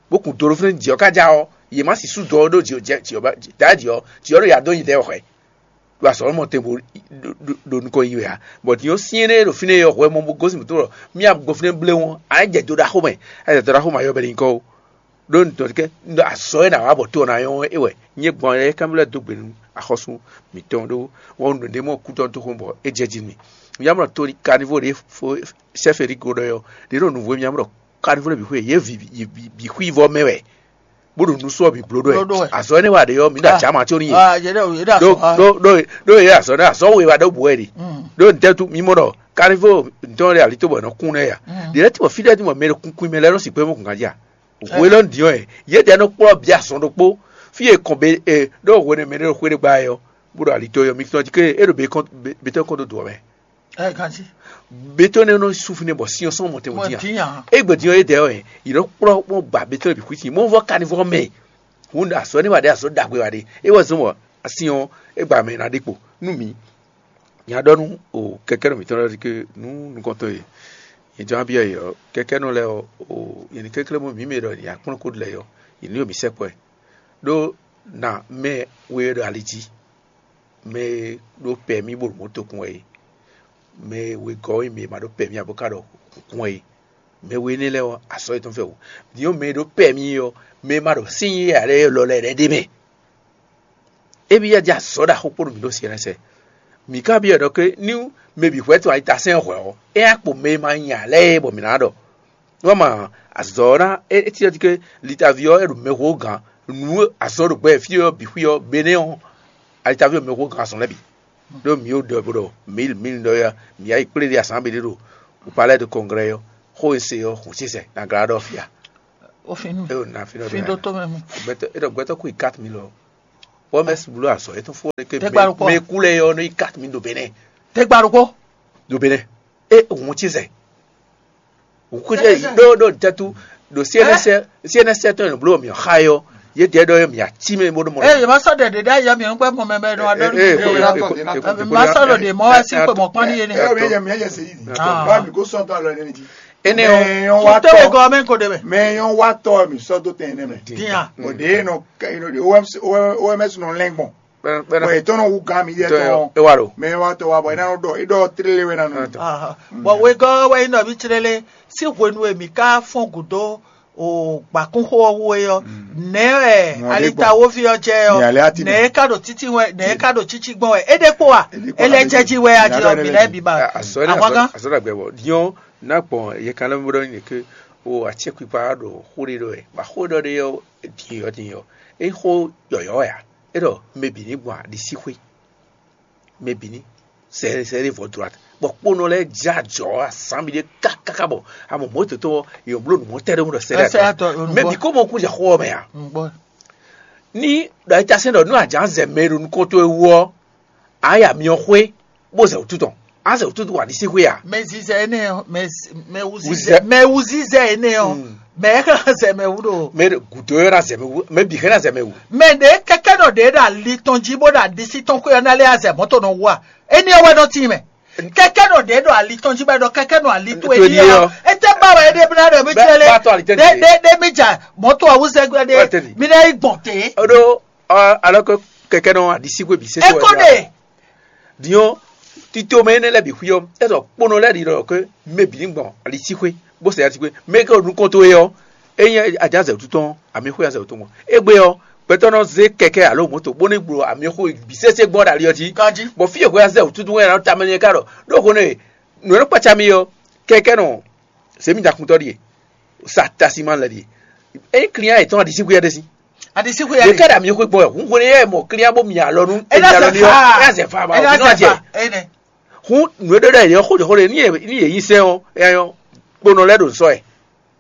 bó kun do ɖó fínɛ́ jǐ ɔ́ ká já ɔ́, yě má sixú dɔ ɔ́ ɖó jǐ ɔ́ jɛ jǐ ɔ́ ba dǎ jǐ ɔ́, jǐ ɔ́ ɖo ya dó nyi dɛ́ wɛ hwɛ̌. Ɖo azɔ̌ mɔ tɛn bo ɖo nukɔn yi wɛ ǎ. Bɔ din ɔ́ syɛ́n ɖé ɖo fínɛ́ yɔ hwɛ mɔ bó gosín mǐtɔn ɖɔ mía gbɔ fínɛ́ bléwún ɔ́, a jɛ do ɖaxó mɛ, a jɛ do ɖaxó mɛ ayɔ bɛ ɖi nyǐkɔ ó. Ɖó nǔtɔn kɛ ɖɔ azɔ̌ e nǎ wa bɔ to ɔ́ ná nyɔ́ é wɛ nyɛ gbɔn é kanbyɔ́ lɛ́ dó gbe nú axɔ́sú mǐtɔn ɖó wɔ̌nu ɖě mɔ kútɔ́ dó xomɛ bɔ é jɛ jí nú mì. Mǐ nya mɔ to kanivó ɖě fó sɛ́fɛ̌ ɖi go ɖɔ ɔ́, ɖě ɖo nǔvú e mǐ nya mɔ ɖɔ kanivó lɛ́ɛ bǐ xwé yě bǐ xwí vɔ mɛ wɛ, bó ɖo nǔsú ɔ́ bǐ bló ɖó wɛ. Azɔ̌ énɛ́ wa ɖě ɔ́, mǐ ɖo acǎ ma có n'i. Ɖó ɖó ɖó ɖó yě azɔ̌ ɖé azɔ̌ we wa ɖó bǔ wɛ ɖi. Ɖó ntɛ́ tú mí mɔ ɖɔ kanivó ntɔ́ ɖé alitó bɔ è nɔ kún nɛ́ ya. Ɖě lɛ́ɛ tí mɔ fí ɖɛ́ tí mɔ mɛ e ɖo kunkun mɛ lɛ́ɛ nɔ sixú kpé mɔ gǎn jí a? Hwe lɔ nǔɖiɖi ɔ́, yědɛɛ nɔ kplɔ́ bǐ azɔn ɖokpó. Fí e kɔn be e ɖó hwenɛ́ mɛ ɖé ɖo xwé ɖé gbá é ɔ́, bó ɖo ali tɔn ɔ́, mi tɔn jí ké é ɖo be kɔn be tɔn kɔn dó dǒ ɔ́ mɛ. Ɛ ganjí. Be tɔn nɛ́ nɔ sú fínɛ́ bɔ sin ɔ́ sɔ́ mɔ tɛn Mɔ mɔ dín ǎ. Dín ǎ. Égbé dín ɔ́, yědɛɛ ɔ́, yě nɔ kplɔ́ bó gba be tɔn bǐ xwí sin. Mɔ vɔ kanivɔ mɛ. Hǔn azɔ̌ énɛ́ wa ɖé azɔ̌ ɖagbe wa ɖé. É wɛ zɔ́n bɔ sin ɔ́, é gba mɛ ná ɖe kpo nú mǐ. Nya ɖɔ nú o kɛkɛ́nɔ mǐtɔn lɛ́ɛ ɖɔ ké nú nukɔntɔn e nyɛ jɔ́n ná byɔ́ yě ɔ́, kɛkɛ́nɔ lɛ́ɛ ɔ́, o nyɛ ní kɛnklɛ́n mɔ mǐ mɛ ɖɔ nyɛ akplɔ́n ko lɛ́ yɔ, yě ní ɖo mǐ sɛkpɔ́ ɛ. Ɖó na mɛ we e ɖo ali jí, mɛ e ɖó pɛmí bó ɖo mɔ̌ tokun wɛ é, mɛ e wegɔ́ nyí mɛ e ma ɖó pɛmí ǎ bó ka ɖɔ kún wɛ é, mɛ we énɛ́ lɛ́ɛ ɔ́, azɔ̌ yětɔn fɛ wǔ. Din ɔ́, mɛ e ɖó pɛmí ɔ́, mɛ e ma ɖo sín yí ǎ lɛ́ɛ lɔ lɛ́ɛ ɖ'é mɛ. Émí ya jɛ azɔ̌ ɖaxó kpó nú mǐ ɖo syɛ́nɛ́sɛ. Mǐ ka byɔ́ ɖɔ ké nú mɛ bǐ hwɛ́ tɔn ayitasɛ́n hwɛ̌ ɔ́, é ná kpo mɛ e ma nya ǎ lɛ́ɛ bɔ mǐ ná ɖɔ. Nú a ma azɔ̌ ɔ́ ná é é cyɔ́ jí ké litaví ɔ́ é ɖo mɛxó gǎn nǔ azɔ̌ ɖo gbɛ fí ɔ́ bǐ xwí ɔ́, benɛ́ ɔ́, alitaví ɔ́ mɛxó gǎn azɔ̌ lɛ́ɛ bǐ. Ɖó mǐ ó ɖɔ bó ɖɔ mǐ mǐ ɖɔ ya mǐ yá yi kplé ɖé asǎn bǐ ɖé ɖo Palais de Congrès ɔ́, xó e se ɔ́, hǔn sísɛ nǎ glá ɖɔ fia. Ó fin nú É ɖo nǎ fínɛ́ fi ɖó tó mɛ mu. Gbɛtɔ́ é ɖɔ gbɛtɔ́ kú yi quatre mille ɔ́. Wɔ mɛ blu azɔ é tún fún ɔ́ ke Tɛgbà ló kpɔ. Mɛ kú lɛ yɔ ní quatre mille ɖo Benin. Tɛgbà ló kpɔ. Ɖo Benin. É òun tí zɛ. Òun kú zɛ ɖó ɖó tɛtu ɖo C N S C N S tɔn ɖo blo mi xa yɔ. Yě dɛ ɖɔ yɛ mì ací mɛ bó ɖo mɔ. Eye ma sɔ ɖe ɖe ɖe ayɔ mi ŋgbɛ mɔ mɛ bɛ nɔ adɔ ni. Eye ko ya ko ko ko. Ma sɔ ɖo ɖe mɔ wɛ si ko mɔ kpɔn ni yene. Eye mi yɛ se yi. Ah. Ba mi ko sɔn tɔ lɔ ne mi ji. Ene o. Te we gɔ mɛ ko de mɛ. Mɛ yɔn wa tɔ mi sɔ do tɛn ne mɛ. Dinya. O de no ka ino de O M S O M S no lɛngbɔn. Bɔ etɔn nɔ wu gan mi yɛ tɔ. E wa lo. Mɛ yɔn wa tɔ wa bɔ ina no dɔ idɔ tlele wɛ na no. Bɔn wegɔ́ wɛ nyí nɔví clélé sín hwenu e mǐ ka fɔ́n gǔdo o gbǎkúnxó ɔ́ wú é ɔ́, nɛ̌ wɛ alitawoví ɔ́ jɛ ɔ́? Nɛ̌ é ka ɖo títí wɛ? Nɛ̌ é ka ɖo títí gbɔn wɛ? É ɖe kpó wa? É lɛ́ jɛ jí wɛ a jí ɔ́, mǐ lɛ́ bǐ ba. Ahwangán. Azɔ̌ ɖagbe wɔ diɔn ná gbɔn yɛ kan lɛ́ bó ɖɔ nyi ke o acɛkpikpa ɖo xó ɖé ɖɔ wɛ, bɔ xó ɖɔ ɖé ɔ́ din ɔ́ din ɔ́, é xó yɔ̌yɔ́ wɛ a? É ɖɔ mɛ bǐ ní gbɔn aɖisíxwé. Mɛ bǐ ní sɛ sɛ ɖé vɔ droite. Bɔ kpónɔ lɛ́ɛ jlá jɔ azǎn mi ɖé kákáká bɔ amɔ mɔ̌ tɔn yě bló nǔ mɔtɛ́ ɖé ɖɔ sɛ ɖé. Mɛ bǐ kó mɔ kú jɛ xó ɔ́ mɛ a? Ní ɖɔ é tasɛn ɖɔ nú a jǎn zɛ mɛ e ɖo nukɔn towe wú ɔ́, a yi amyɔ xwé bó zɛ wǔtu tɔn. A zɛ wǔtu tɔn wa ɖisí xwé a? Mɛ zizɛ énɛ́ ɔ́, mɛ mɛ wú zizɛ mɛ wú zizɛ énɛ́ ɔ́, mɛ ɛ xlɛ́ zɛ mɛ wú ɖo. Mɛ gǔdo ɛ ná zɛ mɛ wú, mɛ bǐ xlɛ́ ná zɛ mɛ wú. Mɛ ɖě kɛkɛ́nɔ ɖě ɖo ali tɔn jí bó ɖo aɖisí tɔn xwé ɔ́ ná lɛ́ azɛ mɔ̌ tɔn nɔ wú a? Énɛ́ ɔ́ wɛ nɔ tíin mɛ. Kɛkɛ́nɔ ɖě ɖo ali tɔn jí bɔ é ɖɔ kɛkɛ́nɔ ali towe ní ɔ́, étɛ́ ba wɛ é ɖe bla ɖɔ mí tlɛ lé? Ɖé ɖé mí ja mɔ̌ tɔn awúzɛ gbe ɖé mí ná yi gbɔn té. Oɖó alɔ́ kɛkɛ́nɔ aɖisíxwé bǐ sésé wɛ. Diɔn tito mɛ énɛ́ lɛ́ɛ bǐ xwí ɔ́, é ɖɔ kponɔ lɛ́ɛ ɖi ɖɔ ke mɛ bǐ ní gbɔn alisíxwé, bó sɛ alisíxwé, mɛ ke ɖo nukɔn towe ɔ́, é nyí ajǎ zɛ̌wútu tɔn, amǐxwé azɛ̌wútu gbɔn. Égbé ɔ́, gbɛtɔ́ nɔ zé kɛkɛ́ alo mɔ̌to bó ní gbló amǐxwé bǐ sésé gbɔn ɖo ali ɔ́ jí. Bɔ fí e hwɛ azɛ̌wútu tɔn wɛ ná ta mɛ nyɛ ká ɖɔ ɖó hwenu e nǔ e nɔ kpácá mì ɔ́, kɛkɛ́ nɔ zě mì ɖakuntɔ́ ɖíe, sa tasimán lɛ́ɛ ɖíe. Ényí klíán yětɔn aɖisíxwé ɔ́ ɖe sín. Aɖisíxwé yě ká ɖo amǐxwé gbɔn wɛ, hun hwenu e mɔ klíán bó mi alɔ nú emi alɔ ní ɔ́, é azɛ fa ma ɔ́ nɔ jɛ. Hun nǔ e ɖó ɖɔ yě xó ɖě xó ɖě ní yě ní yě nyi sɛn ɔ́, é nyɔ kponɔ lɛ́ɛ ɖo sɔ ɛ.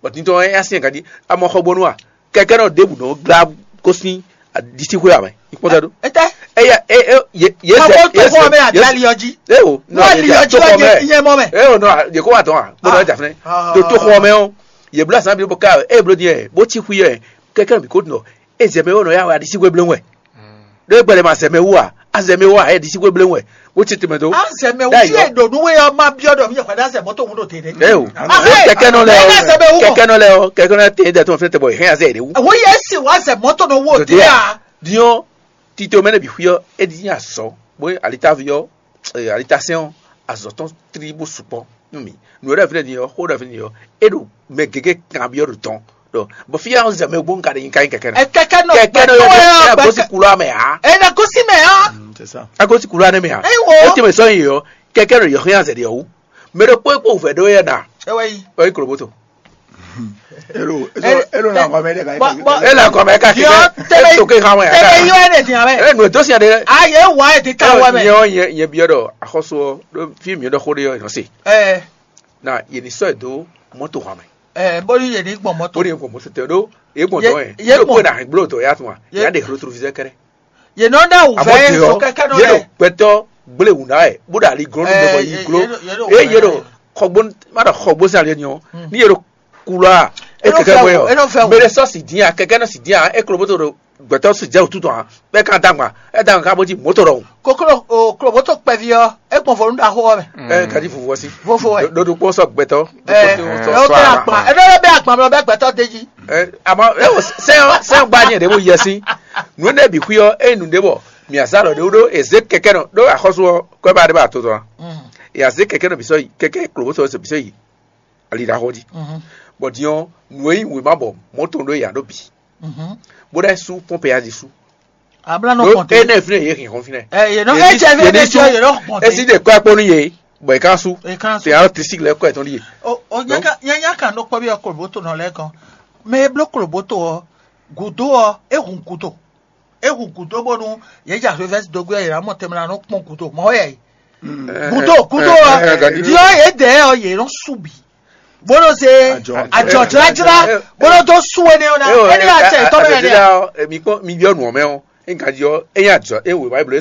Bɔ tintɔn ɛ así ɛ ganjí amɔ xɔgbónú a? Kɛkɛ́ nɔ ɖěbǔ nɔ glá gosín aɖisíxwé ame. Ikpɔ́n tɛ ɖó. Etɛ. Eya e e ye ye Xɔgbó zɛ to ye xɔ zɛ mɛ ye agali ɔjí. E o Nɔ ali ɔjí to xɔ ɔjí mɛ. Iye mɔ mɛ. E o nɔ ye ko wa dɔn a? Kpɔnɔ ɛ jafɛ. To to xɔ mɛ o. Ye bla san bi bo ka e blo diɛ bo ti xwi yɛ kɛkɛ́ nɔ bi ko nɔ. E zɛ mɛ o nɔ ya wɛ aɖisíxwé blé wɛ. Ɖé gbɛɖe ma zɛ mɛ wú a? Azɛ mɛ wú a? Ɛ ɖisíxwé blé wɛ. Wo ti tɛmɛ do. Azɛ mɛ wú tí èdò nú wɛ ɔmá biɔ dɔ mi yɛ kɔdá zɛ mɔtò wú ɖo tɛnɛ. E o. Kɛkɛ́ nɔ lɛ o. Kɛkɛ́ nɔ lɛ o. Kɛkɛ́ nɔ tɛ dɛ tɔn fɛ tɛ bɔ hɛn azɛ yɛ de wú. Wo yɛ si wá zɛ mɔtò nɔ wó Dòdè a? Diɛ. Diɔn tito mɛ ne bi xwi ɔ, e di nya sɔ bo alitavi ɔ, alitasɛn ɔ, azɔ tɔn tri bo sukpɔ nú mi. Nu ɖe fi ne di ɔ, xó ɖe fi ne di ɔ, e ɖo mɛ gege kan bi ɔ ɖo tɔn. Ɖɔ bɔ fi ya zɛ mɛ bo nka ɖe nyi ka nyi kɛkɛ na. Ɛ kɛkɛ nɔ kɛkɛ nɔ yɔ ya gosi kulu amɛ ha. Ɛ na gosi mɛ ha. C'est ça. A gosi kulu anɛ mɛ ha. Ayi wo. O ti mɛ sɔn yi yɔ kɛkɛ nɔ yɔ hɛn azɛ de ɔwu. Mɛ ɖo kpó kpó vɛ ɖo yɛ na. Ɛ wɛ yi. Ɔ yi koloboto. Elo elo na gɔmɛ ɖe ka yi. E le gɔmɛ ka kike. Diɔ tebe e to ke hã wɛ tebe yɔ e de diɔ wɛ. E nu eto sia de. A ye wa e ti ka wɛ mɛ. Nyɛ nyɛ nyɛ biɔ ɖɔ axɔsɔ ɖo fi mi ɖɔ xo ɖe yɔ nɔ se. Ɛ. Na ye ni sɔ edo mɔto hã mɛ. Ɛ boli ye ni gbɔn mɔto. Boli ye gbɔn mɔto tɛ ɖo ye gbɔn dɔ yɛ. Ye gbɔn na gblo to ya tuma ya de retrouvisɛ kɛrɛ. Ye nɔ ɖe awu vɛ ye sɔ kɛkɛ nɔ ye ɖo lɛ. Gbɛtɔ gblé wǔ ná wɛ bó ɖo ali glɔ́n nú mɛ bɔ yi gló. Ye ɖo xɔgbó, má ɖɔ xɔgbó sín ali nyɔ ní ye ɖo kulɔ a e kɛkɛ mɔ yɔ mɛ ɖe sɔ si dín a kɛkɛ nɔ si dín a e klo bótó ɖo gbɛtɔ si jɛ wútu tɔn a bɛ kan dagba e dagba ka bó jí mɔtò ɖɔhun. Koklo o kloboto kpɛvi ɔ e gbɔn vɔ nu ɖaxo ɔ mɛ. Ɛ gadi vuvu ɔsi. Vovo wɛ. Ɖoɖo kpɔn sɔ gbɛtɔ. Ɛ ɛ o tɛ akpa ɛ ɖɔ bɛ akpa mɛ bɛ gbɛtɔ de ji. Ɛ àmọ́ ɛ wò sɛn sɛn gba nyɛ ɖe mo yɛ si. Nu ne bi xwi ɔ e nu ɖe bɔ mi azalɔ ɖe wo ɖo eze kɛkɛ nɔ ɖo axɔsu ɔ kɔ ba ɖe ba to tɔn. E aze kɛkɛ nɔ bisɔ yi kɛkɛ kloboto ɔ bisɔ yi. Ali ɖaxɔ ji. Bɔ diɔ nu e yi wema bɔ mɔto ɖo ya ɖo bi. Bó ɖe su pɔnpe ya di su. Abla nɔ kɔnte. Ene fine ye hin hɔn fine. Ɛ ye nɔ e jɛ fi ne jɔ ye nɔ kɔnte. Esi de kɔ akpɔ nu ye bɔ e kan su. E kan su. Te alo tisi lɛ kɔ etɔn di ye. O o nyaka nyanya kan nɔ kpɔ bi ɔ koloboto nɔ lɛ kɔn. Mɛ e blo koloboto ɔ gudo ɔ e hun gudo. E hun gudo bonu ye ja revɛsi dogbe ye la mɔ tɛmɛ la nɔ kpɔn gudo mɔ yɛ. Gudo gudo ɔ diɔ ye dɛ ɔ ye nɔ su bi. Bó nɔ se ajɔ jlajla bó nɔ dó sú we nɛ ɔ́ ná. Énɛ́ wá sɛ tɔ́ mɛ nɛ. Mi kpɔn mi byɔ́ nǔ ɔ́ mɛ ɔ́, é ŋka jí ɔ́, é nyí ajɔ é wěwá é bló